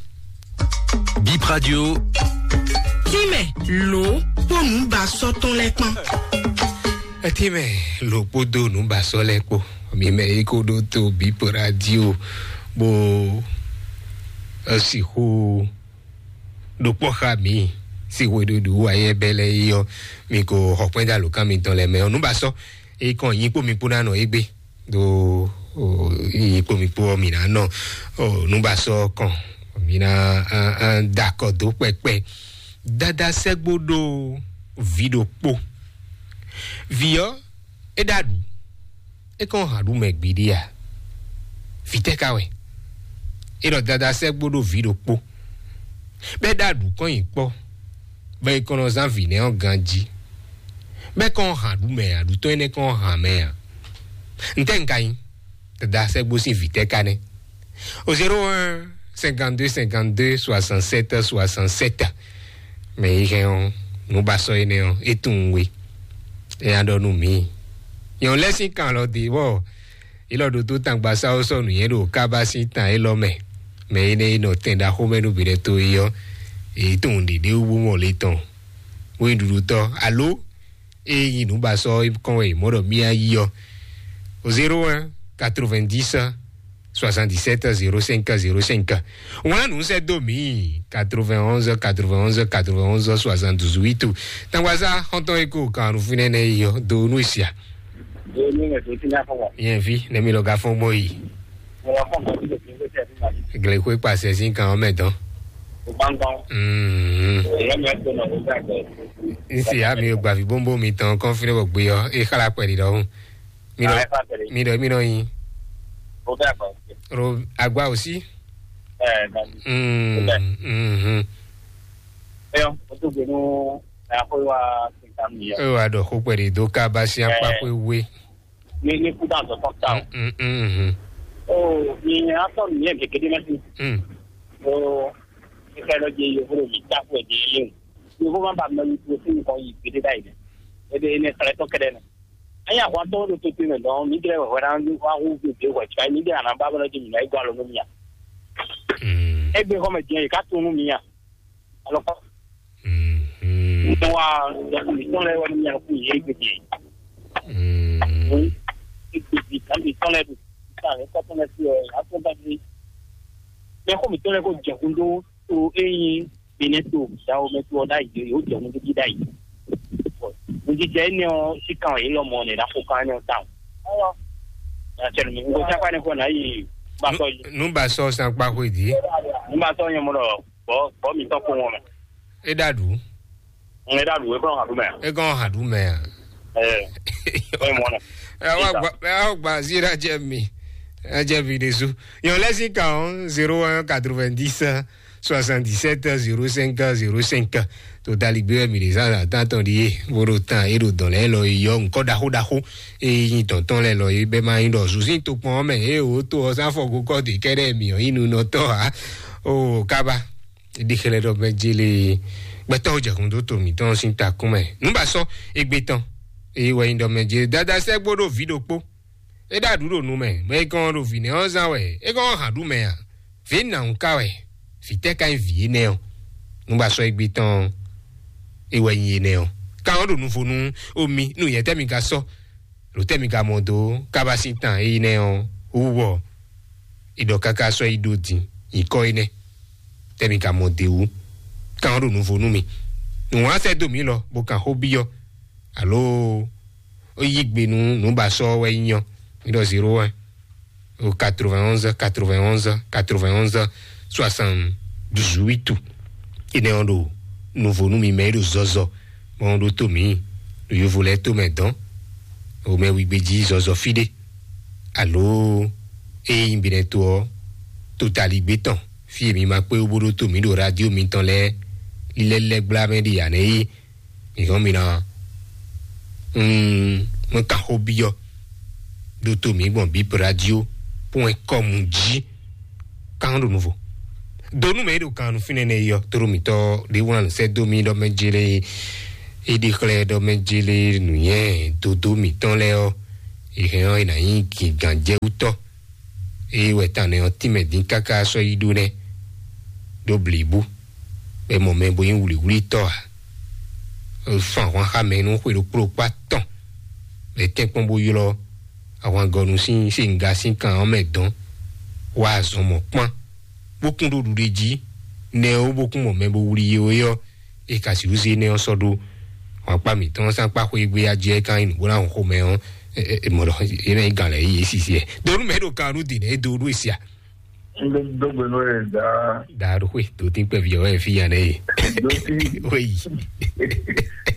Bip Radio. Tínmɛ lǒ kpó nǔbasɔ́ tɔn lɛ́ɛ kpán. Etínmɛ lǒ kpódó nǔbasɔ́ lɛ́ɛ kpó. Mi mɛ yi kó ɖó tó Bip Radio bó sixú ɖo kpɔ́ xá mi sí hweɖuɖu ayɛbɛlɛ yi ɔ́, mi ko xɔ kpɛ́n dó alǒkan mitɔn lɛ́ɛ mɛ ɔ́. Nǔbasɔ́ e kɔn nyi kpó mi kpó ná nɔ égbé ɖo nyi kpó mi kpó ɔ́, mi ná nɔ nǔbasɔ́ kɔn, mi ná da akɔ dó kpɛkpɛ. Dada sɛ́gbó ɖó vǐ ɖokpó. Vǐ ɔ́, é ɖo aɖǔ, é kɔn hǎn ɖu mɛ gbiɖi a? Vǐ tɛ́ ka wɛ? É ɖɔ dada sɛ́gbó ɖó vǐ ɖokpó, bɔ é ɖo aɖǔ kɔn nyi kpɔ́, bɔ é kɔn nɔ zán vǐ nɛ́ ɔ́ ganjí. Bɛ́ kɔn hǎn ɖu mɛ a? Ɖu tɔn énɛ́ kɔn hǎn mɛ a? Ntɛ́ un ka nyí? Dada sɛ́gbó sín vǐ tɛ́ ka nɛ́? O zéro un cinquante-deux cinquante-deux soixante-sept soixante-sept. Mɛ yi hɛn ɔ́, nǔbasɔ énɛ́ ɔ́, é tunwun we. É nya ɖɔ nú mǐ. Nyɔ̌nu lɛ́ɛ sín kan lɔ dě bɔ é lɔ ɖótó tangbasáwó sɔ́ nǔnywɛ́ ɖo kábá sín tan élɔ́ mɛ. Mɛ énɛ́ e nɔ tɛn ɖaxó mɛ nú bǐɖɛ́ to é ɔ́, é tunwun ɖěɖé wú bó mɔ le tɔn. Bó nyí ɖuɖutɔ́ alo é nyí nǔbasɔ kɔn wɛ mɔ̌ ɖɔ mía yí ɔ́. O zéro un quatre-vingt-dix soixante-dix-sept zéro cinq zéro cinq. Wlán nǔ sɛ́ dó mǐ quatre-vingt-onze quatre-vingt-onze quatre-vingt-onze soixante-dix-huit. Tangwaza xɔntɔn e ko kan nu fínɛ́ nɛ́ yi ɔ́ do nú sia. Yẹn vi nɛmi lɔ ga fɔn gbɔ yi. Glexwe kpasɛ sín kan ɔ́ mɛ dɔn. Mm. N se ya mi gba vi bóńbó mi tɔn kɔn fínɛ́ bɔ gbé ɔ́ é xlá kpɛɖi ɖɔhún. Mi ɖɔ mi ɖɔ mi ɖɔ yin. Ro agba aussi. Mm. Mm. Ẹ wá ɖɔ xó kpɛɖi dó ká bá sí akpá xwé wé. Ní ní kú dá zɔ tɔn ta o. Mm, mm, mm, mm. O ní atɔ nìyẹn gègédé mẹ sí. Mm. O ní ká lọ jẹ yòókù ló mi ta kú ẹ jẹ yé o. Yòókù má ba mẹ ní kú sí nǹkan yìí gbédé báyìí dẹ. Ebe ene kẹlẹ tɔ kẹdẹ nẹ. Ẹ̀yin àwọn atọ ló tó pé mẹ dán mi dẹ wẹ wẹ náà wá hó gbèdé wẹ tí mi dẹ àná bá bọlá jẹ mi náà igbó alọ nù mi à. Mm. Ẹgbẹ́ kọ́ mẹ jẹ yìí ká tó nù mi à. Alọ kọ́. Mm, mm. Nítorí wa ìtọ́ lẹ wọ́n ní yàrá kú yìí gbèdé. Mm. Gbèdé kan lè tọ́ lẹ dùn. Nígbà rẹ kọ́ tọ́ lẹ sí ẹ̀ á tó bá dé. Mẹ kó mi tọ́ lẹ kó jẹ̀kún dó tó eyín Benin tó ìyàwó mẹ tó ọ̀dà yìí yóò jẹ̀kún dó dídá yìí. Mo ti jẹ́ ní ọ sí kan yìí lọ́mọ ní ìdáko kan ní ọ táwọn. Àtẹnu mi, nǹkan sápá ní kò náà yìí bá sọ yìí. Nú bá sọ san pa hwe dì. Nú bá sọ yẹn mo lọ bọ́ bọ́ mi tọ́ kó wọn mẹ́. É dàdú. Ŋun é dàdú é kọ́ hàn dú mẹ́. É kọ́ hàn dú mẹ́. Ẹ ẹ mọ nà. Ẹ wá gba ẹ wá gba zira jẹ mi. Ẹ jẹ mi de su. Yàn lẹ́sìn kan zéro un quatre-vingt-dix soixante-dix-sept zéro cinq zéro cinq. Tó dali gbé mi de zan atan tɔn di ye. Boro tan e do dɔn lɛ lɔ yɔ nkɔ daxo daxo. E yin tɔntɔn lɛ lɔ ye bɛ ma yin dɔ zuzi to kpɔn mɛ e o to ɔsan fɔ go kɔ de kɛdɛ mi ɔ yin nu nɔ tɔ ha. O kaba. Ɖi xlɛ́ ɖɔ mɛ jele gbɛtɔ́ jɛkun dó to mǐtɔn sín takún mɛ. Nú ba sɔ́ égbé tɔn, eye wɛ nyí ɖɔ mɛ jele dada sɛ́ gbó ɖo vǐ ɖokpó. É ɖo aɖǔ ɖo nu mɛ, mɛ é gɔn ɖo vǐ nɛ́ ɔ́ zán wɛ, é gɔn hǎn ɖu mɛ a? Vǐ nǎwún ka wɛ, vǐ tɛ́ ka nyí vǐ énɛ́ ɔ́? Nú ba sɔ́ égbé tɔn, é wɛ nyí énɛ́ ɔ́. Ka ɔ́ ɖo nuvo nú omi, nú nyɛ̌tɛ́ mi ka sɔ́, ɖo tɛ́ mi ka mɔ dó, kábá sín tan énɛ́ ɔ́ wú wɔ. È ɖɔ káká sɔ́ yi ɖó din nyǐkɔ énɛ́, tɛ́ mi ka mɔ d'é wú? Kan ɔ́ ɖo nuvo nú mi. Nǔ wá sɛ́ dó mǐ lɔ, bó kan xó byɔ́, alo ó yí gbe nú nǔbasɔ́ ɔ́ wɛ nyí ɔ́, mǐ ɖɔ zéro un au quatre-vingt-onze quatre-vingt-onze quatre-vingt-onze soixante-dix-huit. Énɛ́ ɔ́ ɖo nuvo nú mi mɛ e ɖo zɔzɔ, bɔ ɔ́ ɖótó mǐ ɖo yovo lɛ́ɛ tó mɛ dɔn, o mɛ wigbe jí zɔzɔ fí ɖé, alo ée nyí Benɛto ɔ́, to taligbé tɔn, fí e mi ma kpé wú bó ɖótó mǐ ɖo radio mitɔn lɛ́ɛ lílɛ́ lɛ́ gbla mɛ ɖi ǎ nɛ́ é. Mi hɔn mi ná, mm, mɛ kan xó byɔ́ ɖótó mǐ gbɔn bíp radio point com jí. Kan ɖo nuvo. Donu mɛ e ɖo kan nu fínɛ́ nɛ yɔ toro mitɔ ɖe wlan sɛ do mi ɖɔ mɛ jele, e ɖi xlɛ ɖɔ mɛ jele nǔnyɛ dodo mitɔn lɛ ɔ, e hɛn ɔ e na nyí gǐgán jɛ wútɔ. Eye wɛ tan nɛ ɔ tínmɛ dín káká sɔ́ yi ɖó nɛ́ ɖó blibu. Bɛ mɔ mɛ bo nyí wlǐwlítɔ́ ǎ. Fán ahwan xá mɛ nú xwe ɖokpó ɖokpó atɔn. Bɛ tɛ́nkpɔ́n bó ylɔ́ ahwangɔnu sín sínga sín kan ɔ́ mɛ dɔn. Wá azɔn mɔ̌ kpán, bó kún ɖó ɖuɖe jí. Nɛ ɔ́ bó kún mɔ mɛ bó wlí yé ɔ́, é ka sixú zé nɛ ɔ́ sɔ́ ɖó. Wǎnkpá mǐtɔn sán kpá xwé gbé ajɛ kan nyi nǔgbó ná hɔn xomɛ ɔ́, mɔ ɖɔ é ná nyí gǎn lɛ́ɛ yí é sisi ɛ. Donu mɛ ɖo kan nú dǐn é do ɖó esi a? Dógbe nú ẹ dá. Dá ɖo xwé tó dín kpɛví ɔ́ ɛ fi ya nɛ ye. Dóti. Wéyi.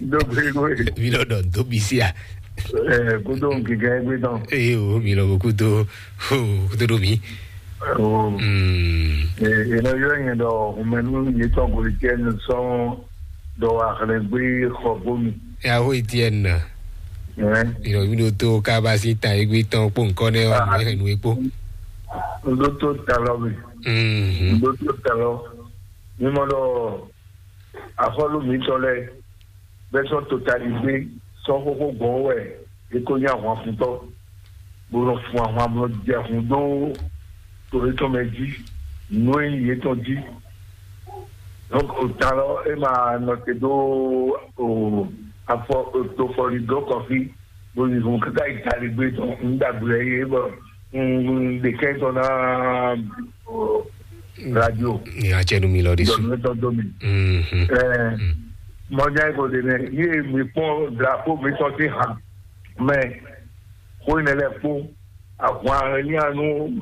Dógbe nú ẹ. Mi lɔ dɔ dó bi sí a? Ẹ kúndó nkíkẹ́ gbé tán. Eye o mi lɔ kúndó o kúndó ɖó mi. O. Mm. Ẹ ẹ lọ yọ yẹn dọ ọmọ ẹnu yìí tán kò lè jẹ ẹnu sọ dọ àkàlẹ gbé xọ bómi. Yahoo Etienne. Ìrọ̀ mi ɖo tó kábàásì ta égbé tán kpó nǹkan nẹ́ ɔ́, nù é nù é kpó. Ŋɖó tó talɔ mi. Mhm. Ŋɖó tó talɔ. Mímɔ ɖɔ axɔ́lú mǐtɔn lɛ́ɛ bɛ́ sɔ́ totaligbé sɔ́ xóxó gbɔn wɛ é kó nyí ahwanfuntɔ́, bó nɔ fun ahwan bó nɔ jɛ hun dó to yětɔn mɛ jí, nǔ e nyí yětɔn jí. Donc, o talɔ é ma nɔ te dó o afɔ o tofɔli dó kɔfí bó yi hun káká yi taligbé tɔn, un ɖagbe yɛ yé bɔ un ɖe kɛn tɔn ná o radio. Ní a cɛ nu mi lɔ ɖi su. Dɔnnu tɔn dó mi. Mhm. Ɛɛ, mɔdza yi ko de nɛ yé mi kpɔn drapeau mi tɔn ti hàn mɛ xó yi nɛ lɛ kpó ahwan élianu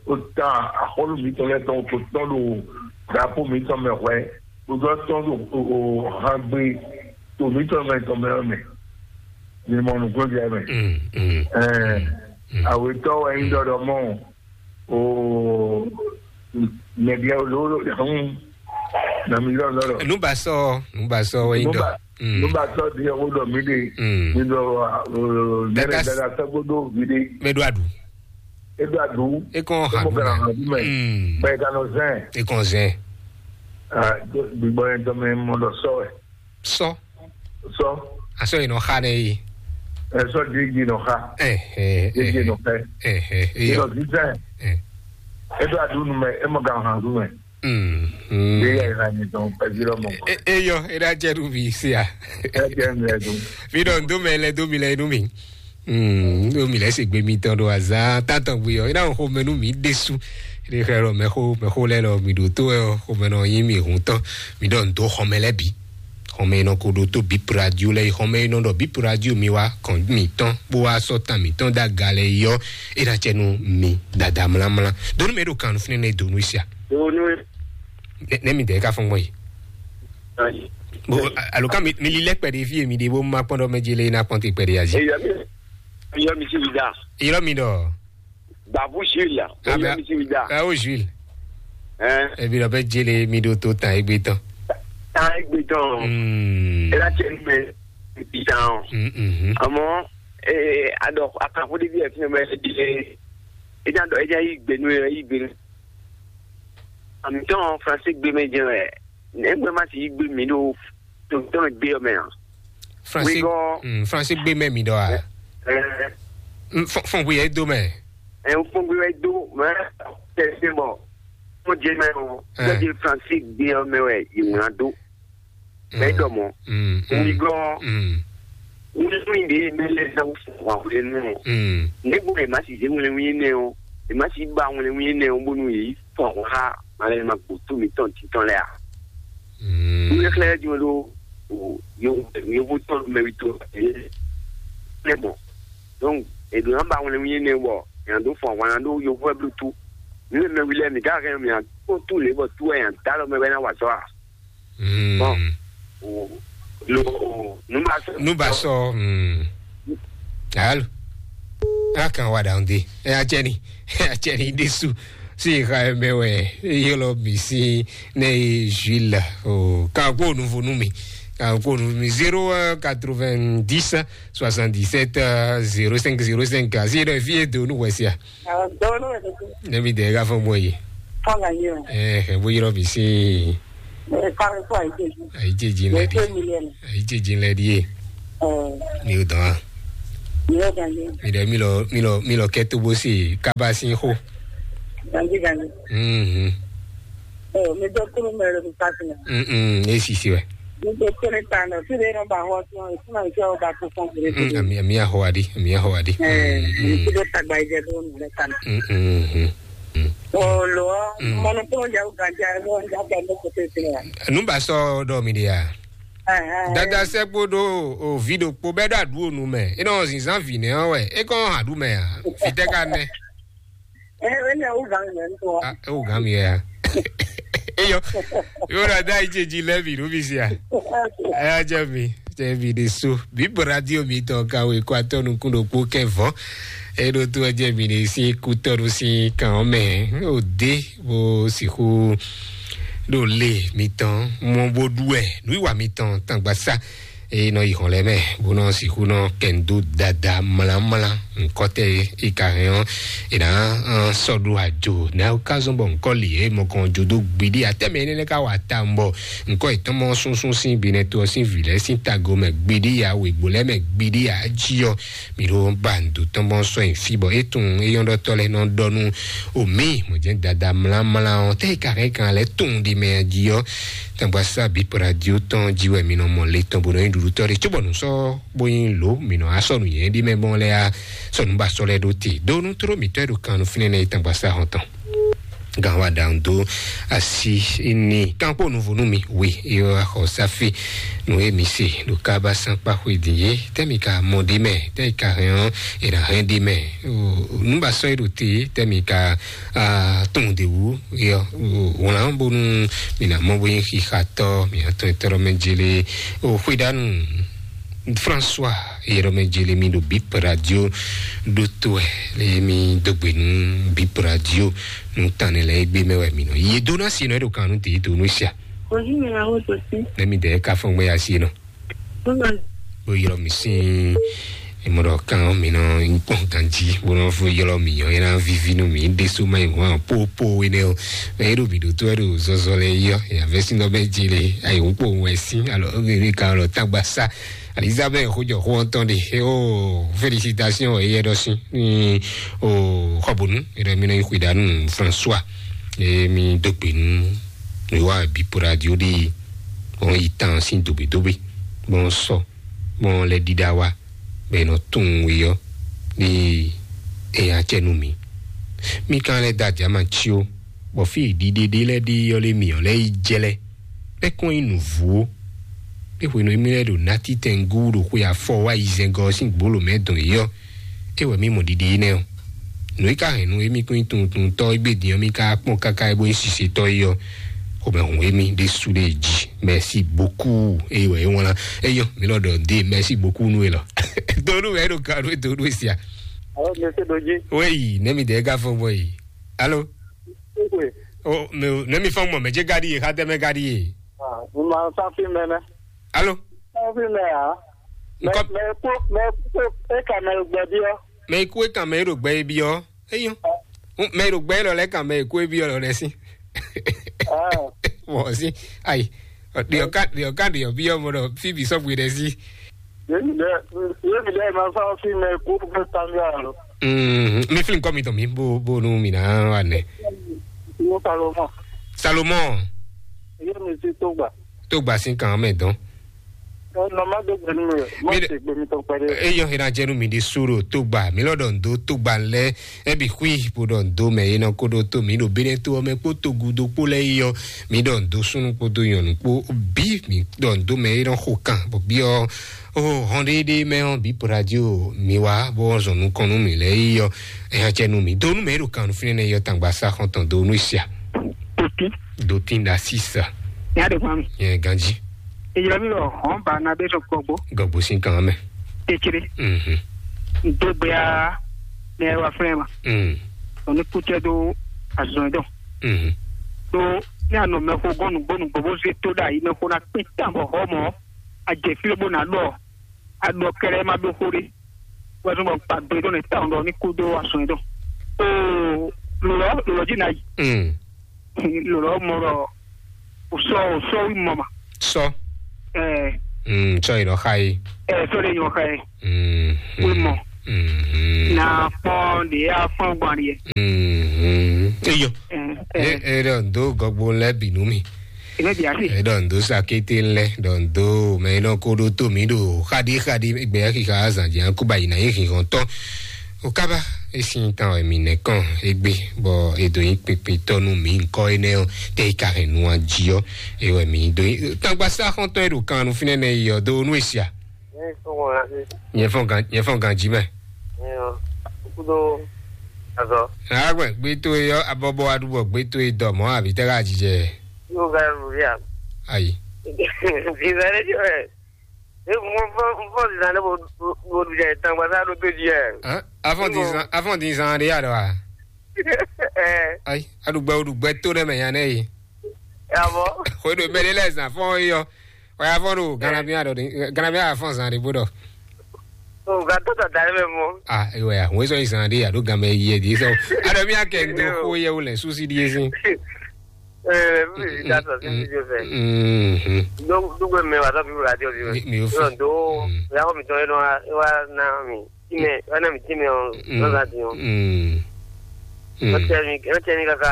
o ta axɔlu mi tɔn lɛ tɔn ko tɔn ɖo drapeau mi tɔn mɛ hwɛ o dɔ tɔn ɖo o hangbe to mi tɔn mɛ tɔn mɛ mɛ ni mɔ nukun jɛ mɛ. Mm, mm. Ɛɛ, awetɔ wɛ yin dɔdɔ mɔ o mɛdiɛ o lo lo hun na mi lɔ lɔ. Nubasɔ, nubasɔ wɛ yin dɔ. Nuba nuba tɔ di o dɔ mi de. Mm. Mi dɔ o nɛnɛ Dada- dada sɛgbodó mi de. Mɛ do adu. E do adu. E kɔn ha Mo du kana mɛ. Ha du mɛ. Mm. Bɛ e kana zɛn. E kɔn zɛn. Ah, gbígbɔ yẹn tɔ mɛ mɔ dɔ sɔ ɛ. Sɔ. Sɔ. Asɔ yi nɔ xa nɛ yi. Ɛ sɔ di di nɔ xa. Ɛ ɛ Di di nɔ ɛ xɛ. Ɛ ɛ Di eyɔ. Nɔ di zɛn. Ɛ. E do adu nu mɛ e mɔ kana ha du mɛ. Mm. Bí yà ìlànà ìtàn pẹ̀lú ọmọ. E- eyɔ e ɖa jɛ ɖu mi sia. Ẹ jẹ́ mi ẹ dùn. Mi ɖɔ ndo mɛ lɛ do mi lɛ nu mi. Mm, do mi lɛ se gbe mi tɔn ɖo azan tatɔn gbe yɔ e na xɔ mɛ nu mi ɖesu. Ɖe xɛ lɔ mɛ xo mɛ xo lɛ lɔ mi ɖo to ɛ xɔ mɛ nɔ yin mi hun tɔn. Mi ɖɔ ndo xɔ mɛ lɛ bi. Xɔ mɛ nɔ ko ɖo to bip radio lɛ xɔ mɛ nɔ ɖɔ bip radio mi wa kɔn mi tɔn bo wa sɔ tan mi tɔn da ga lɛ yɔ e na cɛ nu mi dada mlamla. Donu mɛ ɖo kan fún ne donu sia. Donu. Ne mi dɛ ka fɔn gbɔn yi. Ayi. Bon, alo kan mi mi li lɛ kpɛɖe fi mi de bo ma kpɔn ɖɔ mɛ jele na kpɔn te kpɛɖe azi. Eya mi eya mi si da. Irɔ mi dɔ. Babu Jules la. Eya mi si da. Awo Jules. Hein. Ebi dɔ bɛ jele mi do to tan egbe tɔn. Tan egbe tɔn. Hmm. Ela cɛ ni mɛ bi tan. Hmm, hmm. Àmọ́ eh adɔ akanfo de bi ẹ fi mɛ ẹ di ẹ ẹ ẹ ẹ yi gbenu ẹ yi gbenu. Àmì tɔn français gbé mɛ jẹ wɛ. Nɛgbɛ ma ti yí gbé mi ɖo tòótọ́ mi gbé ɔmɛ hàn. Français, Wígɔ. Mm, français gbé mɛ mi ɖɔ a? Ɛ, Mm, fɔn fɔn bóyá é dó mɛ. Ɛ, fɔn gbé wɛ dó mɛ tɛsí bɔ mo jẹ mɛ o. Ɛ. Lọ́jọ́ français gbé ɔmɛ wɛ yìí ŋlá dó. Mɛ dɔ mɔ. Mm, mm, Wígɔ. Mm, Wíwí ɖe mɛ lɛ zan fún wa wlé nù. Mm. Nɛgbɛ ma si zé wlé wí nɛ o. Ema si ba wlé wí nɛ o bónú yìí fún wa. Malɛ ma gbótó mi tɔn titɔn lɛ a. Mm. Wíwí xlɛ jɔ ɖo o yovo tɔn mɛ wi to. Lɛ bɔ. Donc eɖo na ba wlé wí nɛ bɔ yàn dó fún wa na ɖo yovo ɛ bló tú. Mi lɛ mɛ wi lɛ mi ka hɛn mi a kó tú lě bɔ tú ɛ yàn dá lɔ mɛ bɛ na wà sɔ a. Mm. Bon. O lo o nu ba sɔ. Nu ba sɔ. Mm. Alo. A kan wa dan de. E a cɛ ni. E a cɛ ni de su. Si xa mɛ wɛ. Yɔlɔ mi si ne Jules. O kan ko nu vo nu mi. Kan ko nu mi zéro quatre-vingt-dix soixante-dix-sept zéro cinq zéro cinq. Si ɖe fi e do nu wɛ sia. Ne mi de ka fɔ mɔ yi. Fɔ la yi o. Eh, eh, bo yɔrɔ mi si. Eh, kare fɔ ayi jeji. Ayi jeji lɛ di. Ayi jeji lɛ di ye. Eh. Mi o dɔn. Mi o dɔn ye. Mi de mi lɔ mi lɔ mi lɔ kɛ to bo si kaba si xo. Ganji ganji. Mhm. Eh, mi dɔ kuru mɛ lo mi pasi na. Mhm, e si si wɛ. Mi dɔ kuru ta na, si de no ba ho to, si ma ki o ba ko fɔn kuru. Mhm, ami ami a ho adi, ami a ho adi. Eh, mi si de tagba ije do mi le kana. Mhm. Olo, mɔnɔ kúrò jà ó gàjà ẹ̀ lọ́wọ́ jà bẹ̀ ló kò tẹ̀ sí wa. Nùbà sọ dọ̀ mi di ya. Dada sɛ kpoɖo o vi ɖokpo bɛ ɖo aɖu onu mɛ. E nɔ zinzan vi nɛ ɔ wɛ. E kɔn ha ɖu mɛ a. Fitɛ ka nɛ. Ɛ ɛ lɛ o gan mɛ ntɔ. A e o gan mi ya. Eyɔ. Yóò ɖo adá yi dzi lɛ mi ɖo mi sia. Ɛ ya dze mi. Tɛ́nví ɖé sú bíbɔ radio mi tɔn ka wé kó atɔ́ nukún ɖokpó kɛ́ vɔ́. Eɖo tó ɛ jẹ́ mi ɖé sín kútɔ́ɖu sín kan ɔ́ mɛ. Ó dé bó sixú ɖo lé mitɔn mɔ bó ɖu ɛ nǔwiwa mitɔn tangbaṣá. E nɔ yi hɔn lɛ mɛ, bó nɔ sixú nɔ kɛndo dada mlamla nkɔtɛ. E ka hɛn ɔ́, e na sɔ ɖo ajo na o ka zɔn bɔ nkɔ li e mɔ kɔn jo do gbidi atɛmɛ ne ka wa ta bɔ nkɔ etɔn mɔ sunsun sin bi ne to sin vi lɛ sin tago mɛ gbidi ya wegbo lɛ mɛ gbidi ya ji ɔ. Mi ɖo ba ndo tɔn bɔ sɔ yin fi bɔ e tun e yɔn ɖɔtɔ lɛ nɔ ɖɔ nu o mi mɔ jɛ dada mlamla ɔ tɛ e ka hɛn kan lɛ tun di mɛ ji ɔ. Tangba sa bi radio tɔn ji wɛ mi nɔ mɔ le tɔn bo nɔ yin ɖuɖu tɔ de cóbɔ nu sɔ bo yin lo mi nɔ asɔ nu yɛn ɖi mɛ bɔn lɛ a sɔ nu ba sɔ lɛ ɖo te do nu tro mi tɔ e ɖo kan nu finɛ nɛ yi tangba sa hɔn tɔn. Gan wa ɖaŋ dó asi ní kankpo nuvo nú mi wi yɔ axɔ safi nu e mi se ɖo kaba sankpa xwe din ye tɛ mi ka mɔ ɖi mɛ tɛ yi ka hɛn ɔ e na hɛn ɖi mɛ nu ba sɔ yi ɖo te tɛ mi ka tɔn de wu yɔ wlan bonu mi na mɔ bo yin xixatɔ mi atɔn etɔrɔ mɛ jele o xwe ɖanu. François Yɛrɛmɛ Jeremi ɖo Bip Radio ɖo to wɛ le mi dó gbe nú Bip Radio nú tan ne lɛ egbe mɛ wɛ mi nɔ ye dó ná si nɔ e ɖo kan nú tèyí tó nú sia. Ojú mi la wó tó sí. Ne mi dɛ ka fɔn gbɛ ya si nɔ. Bó ma. Bó yɔrɔ mi sin emɔ ɖɔ kan mi nɔ nkpɔn ganji bó nɔ fo yɔrɔ mi yɔ yɛrɛ vivi nú mi ɖe so ma yi hɔn popo wé nɛ o. Mɛ e ɖo mi ɖo tó e ɖo zɔzɔ lɛ yɔ yavɛ sin nɔ bɛ jele ayi nkpɔn wɛ sin alɔ ɔgɛ mi kan lɔ tagba sa. Elizabeth xojɔxo ɔ́ tɔn ɖe o félicitation eyɛ ɖɔ sí ní o xɔbonu eɖɔ mi nɔ yi xwedanu François emi dó gbe nú mi wá bipoladio ɖe ɔn yi tan sín dogbedobe gbɔn sɔ gbɔn lɛ ɖiɖa wa bɛ nɔ tún wi ɔ ní eya cɛ nú mi. Mi kan lɛ da jama cio bɔ fí ɖiɖe ɖe lɛ ɖe yɔ lé mi ɔ lɛ yi jɛ lɛ bɛ kɔn yi nǔvú ó. Ɖé hwenu émí lɛ́ɛ ɖo nátítɛngú ɖo xwe afɔ wá yi zɛngɔ ɔ́ sín gbǒlǒ mɛ dɔn yě ɔ́, é wɛ mí mɔ ɖiɖe énɛ́ ɔ́. Nǔ e ka hɛn nú émí kún nyí tunwuntunwuntɔ́ égbé din ɔ́, mí ka kpɔ́n káká é bó nyí sisetɔ́ é ɔ́, xomɛ hun émí ɖésú ɖé jí. Merci beaucoup. É wɛ é wlán. É yɔ, mí lɔ ɖɔ dé merci beaucoup nú é lɔ. Donu wɛ é ɖo ka nú é donu é sia. Alo, monsieur Doji. Oui, nɛmi dɛ ka fɔ bɔ yi. Alo. Ékwe. O, mɛ, nɛmi fɔ mɔ mɛ jɛ gadi ye, xa tɛ mɛ gadi ye. Ah, mo máa ń sá fí mẹ nẹ. Alo. Sá fí mẹ à. Mẹ, Nkɔ- mẹ kú, mẹ kú, é kà mẹ gbẹ bí ọ. Mɛ ikú e kan mɛ e ɖo gbɛ e byɔ. Eyɔ. Mɛ e ɖo gbɛ e lɔ lɛ kan mɛ ikú e byɔ lɔ lɛ si. Ah. Mɔ si. Ayi. Ɖiɔ ka ɖiɔ ka ɖiɔ byɔ mɔ ɖɔ fi bi sɔgbe ɖe si. Yémi dɛ, yémi dɛ ma sá fí mẹ kú pé tamiya lo. Mm, mi fi nkɔ mi tɔn mi bo bo nu mi na wa nɛ. Mo Salomon. Salomon. Yémi si tó gbà. Tó gbà sí kan mɛ dɔn. Ɔ nɔ má dó gbɛnu mi rẹ. Má Mi ɖe- ṣe gbẹmí tán pẹrẹ. Eyɔ hena jẹnu mi ɖi suro tó gbà mi lɔ ɖɔ ndo tó gbà lɛ. Ebi xui bó ɖɔ ndo mɛ yena kó ɖó tó mi ɖo bene tó ɔmɛ kpó tó gudo kpó lɛ yɔ mi ɖɔ ndo súnú kpó dó nyɔnu kpó bí mi ɖɔ ndo mɛ yena xo kan bɔ bí ɔ o hɔn ɖéɖé mɛ ɔ bí radio mi wá bó zɔn nukɔn nú mi lɛ yɔ. Eya jẹnu mi do nú mɛ ɖo kan nú finɛ nɛ yɔ tangba sa xɔntɔn do nú sia. Tòkí. Dotin da sisa. Ní àdéhùn àmì. Yẹn ganji. Ìjọba mi lọ hàn bá nabé sọ gbọgbó. Gọgbó sí kan mẹ. Kékeré. Mhm. Dógbéa ní ẹ wá fúnra ẹ ma. Mm. Òní kútẹ́ dó àzùn ẹ̀dọ̀. Mhm. Tó ní àná mẹ́kó gọ́nù gbónú gbogbo ṣe tó dà yìí mẹ́kó ná pín tàbọ̀ họ́ mọ́. Àjẹfílẹ̀ bó ná lọ. Àdó kẹrẹ má dó kórè. Wọ́n tún bọ̀ pàdé tó ní táwọn lọ ní kúdó àzùn ẹ̀dọ̀. Ó lọ lọ jìnnà yìí. Mm. Lɔlɔ mɔ ɖɔ o sɔ o sɔ wi mɔ ma. Sɔ. Ɛɛ. Mm, sɔ yi nɔ xa yi. Ɛɛ sɔ de nyɔ xa yi. Mm. Wi mɔ. Mm. Na kpɔn de ya fɔn gban de yɛ. Mm. Eyɔ. Ɛɛ. E e ɖɔ do gɔgbo lɛ binu mi. Ebe bi ase. E ɖɔ do sakete lɛ ɖɔ do mɛ e nɔ ko ɖo to mi ɖo xaɖi xaɖi gbɛ xixa azan jɛ ko ba yi na yi xixɔn tɔ. O kaba e sin tan wɛ mi nɛ kɔn egbe bɔ e do yin kpekpe tɔ nu mi nkɔ enɛ ɔ te yi ka hɛn nu aji ɔ e wɛ mi do yin tangba sa xɔntɔn e ɖo kan nu finɛ nɛ yi ɔ do nu esia. Nyɛ fɔn gan nyɛ fɔn gan ji mɛ. Kudo azɔ. Agbɛ gbe to e yɔ abɔbɔ adubɔ gbe to e dɔ mɔ abi tɛ ka jijɛ. Yóò ga lu ya. Ayi. Bizarre jɔ ɛ. E mo fɔ fɔ zan ne bo bo jɛ tangba sa do to jɛ. Hã? Afɔn dizan afɔn dizan de ya dɔ wa. Ɛɛ. Ayi, aɖugbɛ oɖugbɛ to ɖe mɛ nya nɛ yi. Abɔ. Xwe ɖo mɛ ɖe lɛ zan fɔn yi yɔ. Waya fɔn ɖo Ganabia ɖɔ ɖe, Ganabia afɔn zan ɖe bó ɖɔ. O ga tó tata yɛ mɛ mɔ. Ah, ewe ya, wọ́n sọ ìsàn ɖe àdó gan mɛ yẹ di sọ. Àdó mi akẹ́ ń do kó yẹ wọlé súsì díẹ̀ sí. Ẹ mi ì dá sọ sí fídíò fẹ́. Dógbé mẹ wà sọ fífi radio fífi. Mi ò fi. Yọ̀ǹ tó yàgò mi tọ́ ẹ náà wá ná mi. Tìmẹ̀ wá ná mi tìmẹ̀ ọ̀ lọ́la ti ọ̀. Wọ́n tẹ mi wọ́n tẹ mi kaka.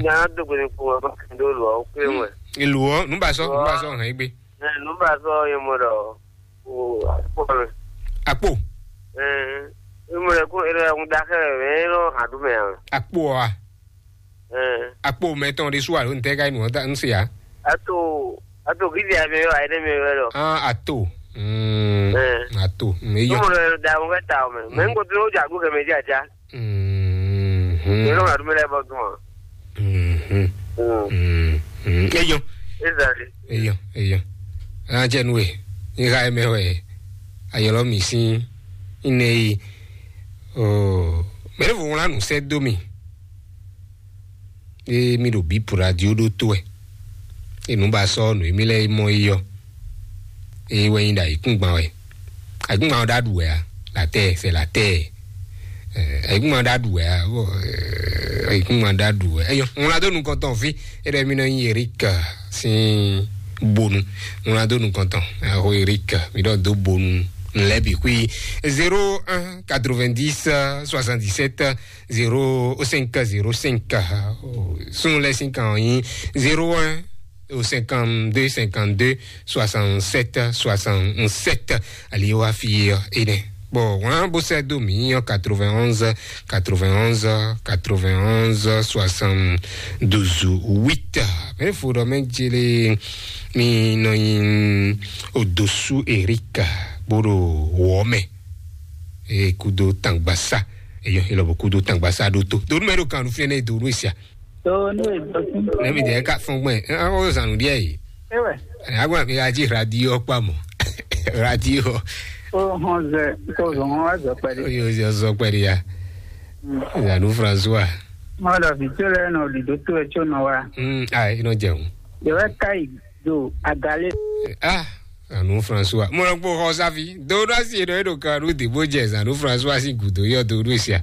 Ní a dógbé mi kú wọn bá kí n dó lù ọ́ pé wọ́n. Ìlú ọ, nùbà sọ, nùbà sọ hàn yín gbé. Ẹ nùbà sọ yẹn mọ̀ dọ̀. O àkpò mɛ. Àkpò. Ẹ ẹ mọ̀ dọ̀ kó ẹ lọ́ọ́ ẹ̀ ń da kẹ́ ẹ̀ ẹ̀ lọ́ọ́ hàn dùn mẹ́ àwọn. Àkpò ọ a. Ɛ. Àpò mɛtɔn ɖé sú alo ntɛ ka yi nù ɔ́ ta ń se ya. Ato ato kí ti àmì yọ àyẹ̀dẹ́ mi yọ lọ. Ah, ato. Mm. Ɛ. Ato. Mm, eyɔ. Mo lọ da mo fẹ́ ta o mɛ. Mɛ n ko tó jà kú kẹmẹ jà já. Mm. Yọ lọ wà dúmẹ́lẹ́ bọ́ tún wọn. Mm. Mm. Mm. Eyɔ. Ezali. Eyɔ, eyɔ. An jɛ nu e. Ní ka yi mɛ wɛ. Ayɔlɔ mi sín. Iná yi. Oh. Mɛ ne vo wlán nǔ sɛ́ dó mi. Ée mì ɖo bǐ radio ɖótó wɛ. Ée nǔ ba sɔ́ nǔ émí lɛ́ɛ mɔ yi ɔ́, é wɛ nyí ɖo ayǐkúngban wɛ. Ayǐkúngban ɔ́ ɖo aɖu wɛ a? Latɛ́ɛ, sɛ latɛ́ɛ. Ayǐkúngban ɖo aɖu wɛ a? Ayǐkúngban ɖo aɖu wɛ. Eyɔ, ŋlá dó nukɔn tɔn fí. É ɖɔ mì nɔ nyi Eric sín bonu. Ŋlá dó nukɔn tɔn. Axo Eric, mì ɖɔ dó bonu. Lɛ́ bǐ xwí. Zéro un quatre-vingt-dix soixante-dix-sept zéro cinq zéro cinq, sun lɛ sin kan ɔ́ nyí zéro un cinquante-deux cinquante-deux soixante-sept soixante-sept. Ali wá fi ɔ́ énɛ́. Bon, wọ́n bó sɛ́ dó mǐ ɔ́ quatre-vingt-onze quatre-vingt-onze quatre-vingt-onze soixante-douze huit. Mɛ fo ɖɔ mɛ jele mi nɔ nyi odosu Erika bó ɖo wɔ mɛ. Eye kudo tangbasa. Eyɔ, elɔ bɔ kudo tangbasa ɖo to. Donu mɛ ɖo kan nu fia ne donu esia. Donu e dɔ sí. Ne mi de ka fɔn gbɛ. An o zanu diɛ yi. Ewe. Agba mi aji radio kpa mɔ. Radio. O hɔn zɛ, ko zɔn hɔn wa zɔ pɛdi. Oyo zɔ zɔ pɛdi ya. Zanu François. Mɔ dɔ vi tso lɛ nɔ ɖiɖo to ɛ tso nɔ wa. Mm, ah, ino jẹun. Yɛ wɛ ka yi do agale. Ah, Zanu François. Mo lɔ kpó xɔ sáfi. Donu asi ɖɔ eɖo kan ɖu dìbò jɛ Zanu François si gudo yɔ donu esia.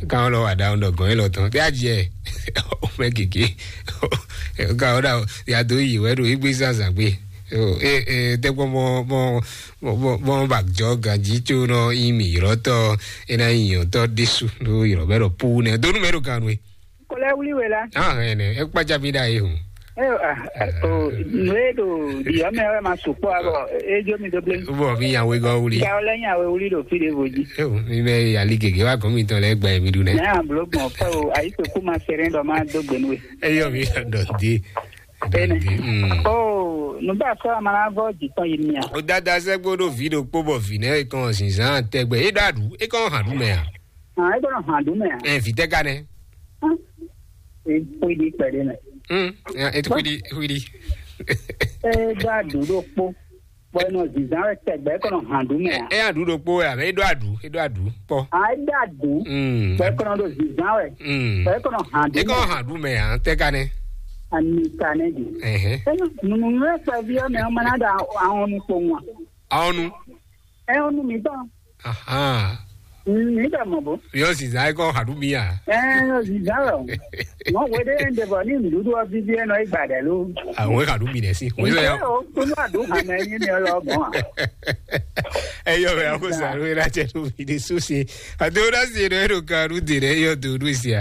Kan lɔ wa da ŋdɔ gɔn elɔ tɔn. Tɛ adjɛ. O mɛ gege. Kan o da ya do yi wɛ ɖo igbe zazagbe. E e tɛgbɔ mɔ mɔ mɔ mɔ ba jɔ ganji tso nɔ yi mi yrɔtɔ. E na yi yɔtɔ ɖesu ɖo yrɔ mɛ ɖo pu nɛ. Donu mɛ ɖo kan nue. Kɔlɛ wuli wɛ la. Ah, ene, e kpa jabi da ye hu. Eh, ah, oh, nue do di ame wɛ ma sukpɔ abɔ, e jo mi do ble. Bo mi ya we go wuli. Ya ole nya we wuli do fi de voji. Eh, mi be ya li gege wa ko mi tɔn lɛ gba mi du ne. Na blo gbɔn fɛ o, ayi to kuma sere dɔ ma do gbe nue. Eyɔ mi dɔ di. Ene. Mm. Oh, nu ba fɔ amana vɔ di tɔn yi mia. O dada sɛ gbodo vi do kpo bɔ vi ne e kɔn zinzan tɛgbɛ. E da du, e kɔn han du mɛ a? Ah, e kɔn han du mɛ a? Eh, vi tɛ ka ne. Ah, e kpedi kpɛdi mɛ. Mm, ya, e kpedi, kpedi. E da du do kpo. Bɔ e nɔ zinzan wɛ tɛgbɛ, e kɔn han du mɛ a? E ya du do kpo wɛ, e do adu, e do adu kpɔ. Ah, e da du. Mm. Bɔ e kɔn do zinzan wɛ. Mm. Bɔ e kɔn han du. E kɔn han du mɛ a, tɛ ka ne. Ani ka ne di. Ɛhɛn. E nunu nunu e kpɛ vi ɔ mɛ, o mana da ahɔn nu kpo ŋua. Ahɔn nu. Ɛ ɔnu mi tɔn. Ahan. Mi bɛ mɔ bo. Yɔ sisan e kɔ haɖu mi a? Ɛ yɔ sisan lɔ. Mɔ wede en de bɔ ni nuɖuɖu ɔ bibi enɔ e gba ɖɛ lo. Àwọn haɖu mi dɛ si. Wọ́n sọ ya. O kunu adu hame ni mi lɔ bɔn. Eyɔ bɛ ako sa lo ena cɛ to mi de so se. Ado na se do eno karu de ne yɔ do do sia.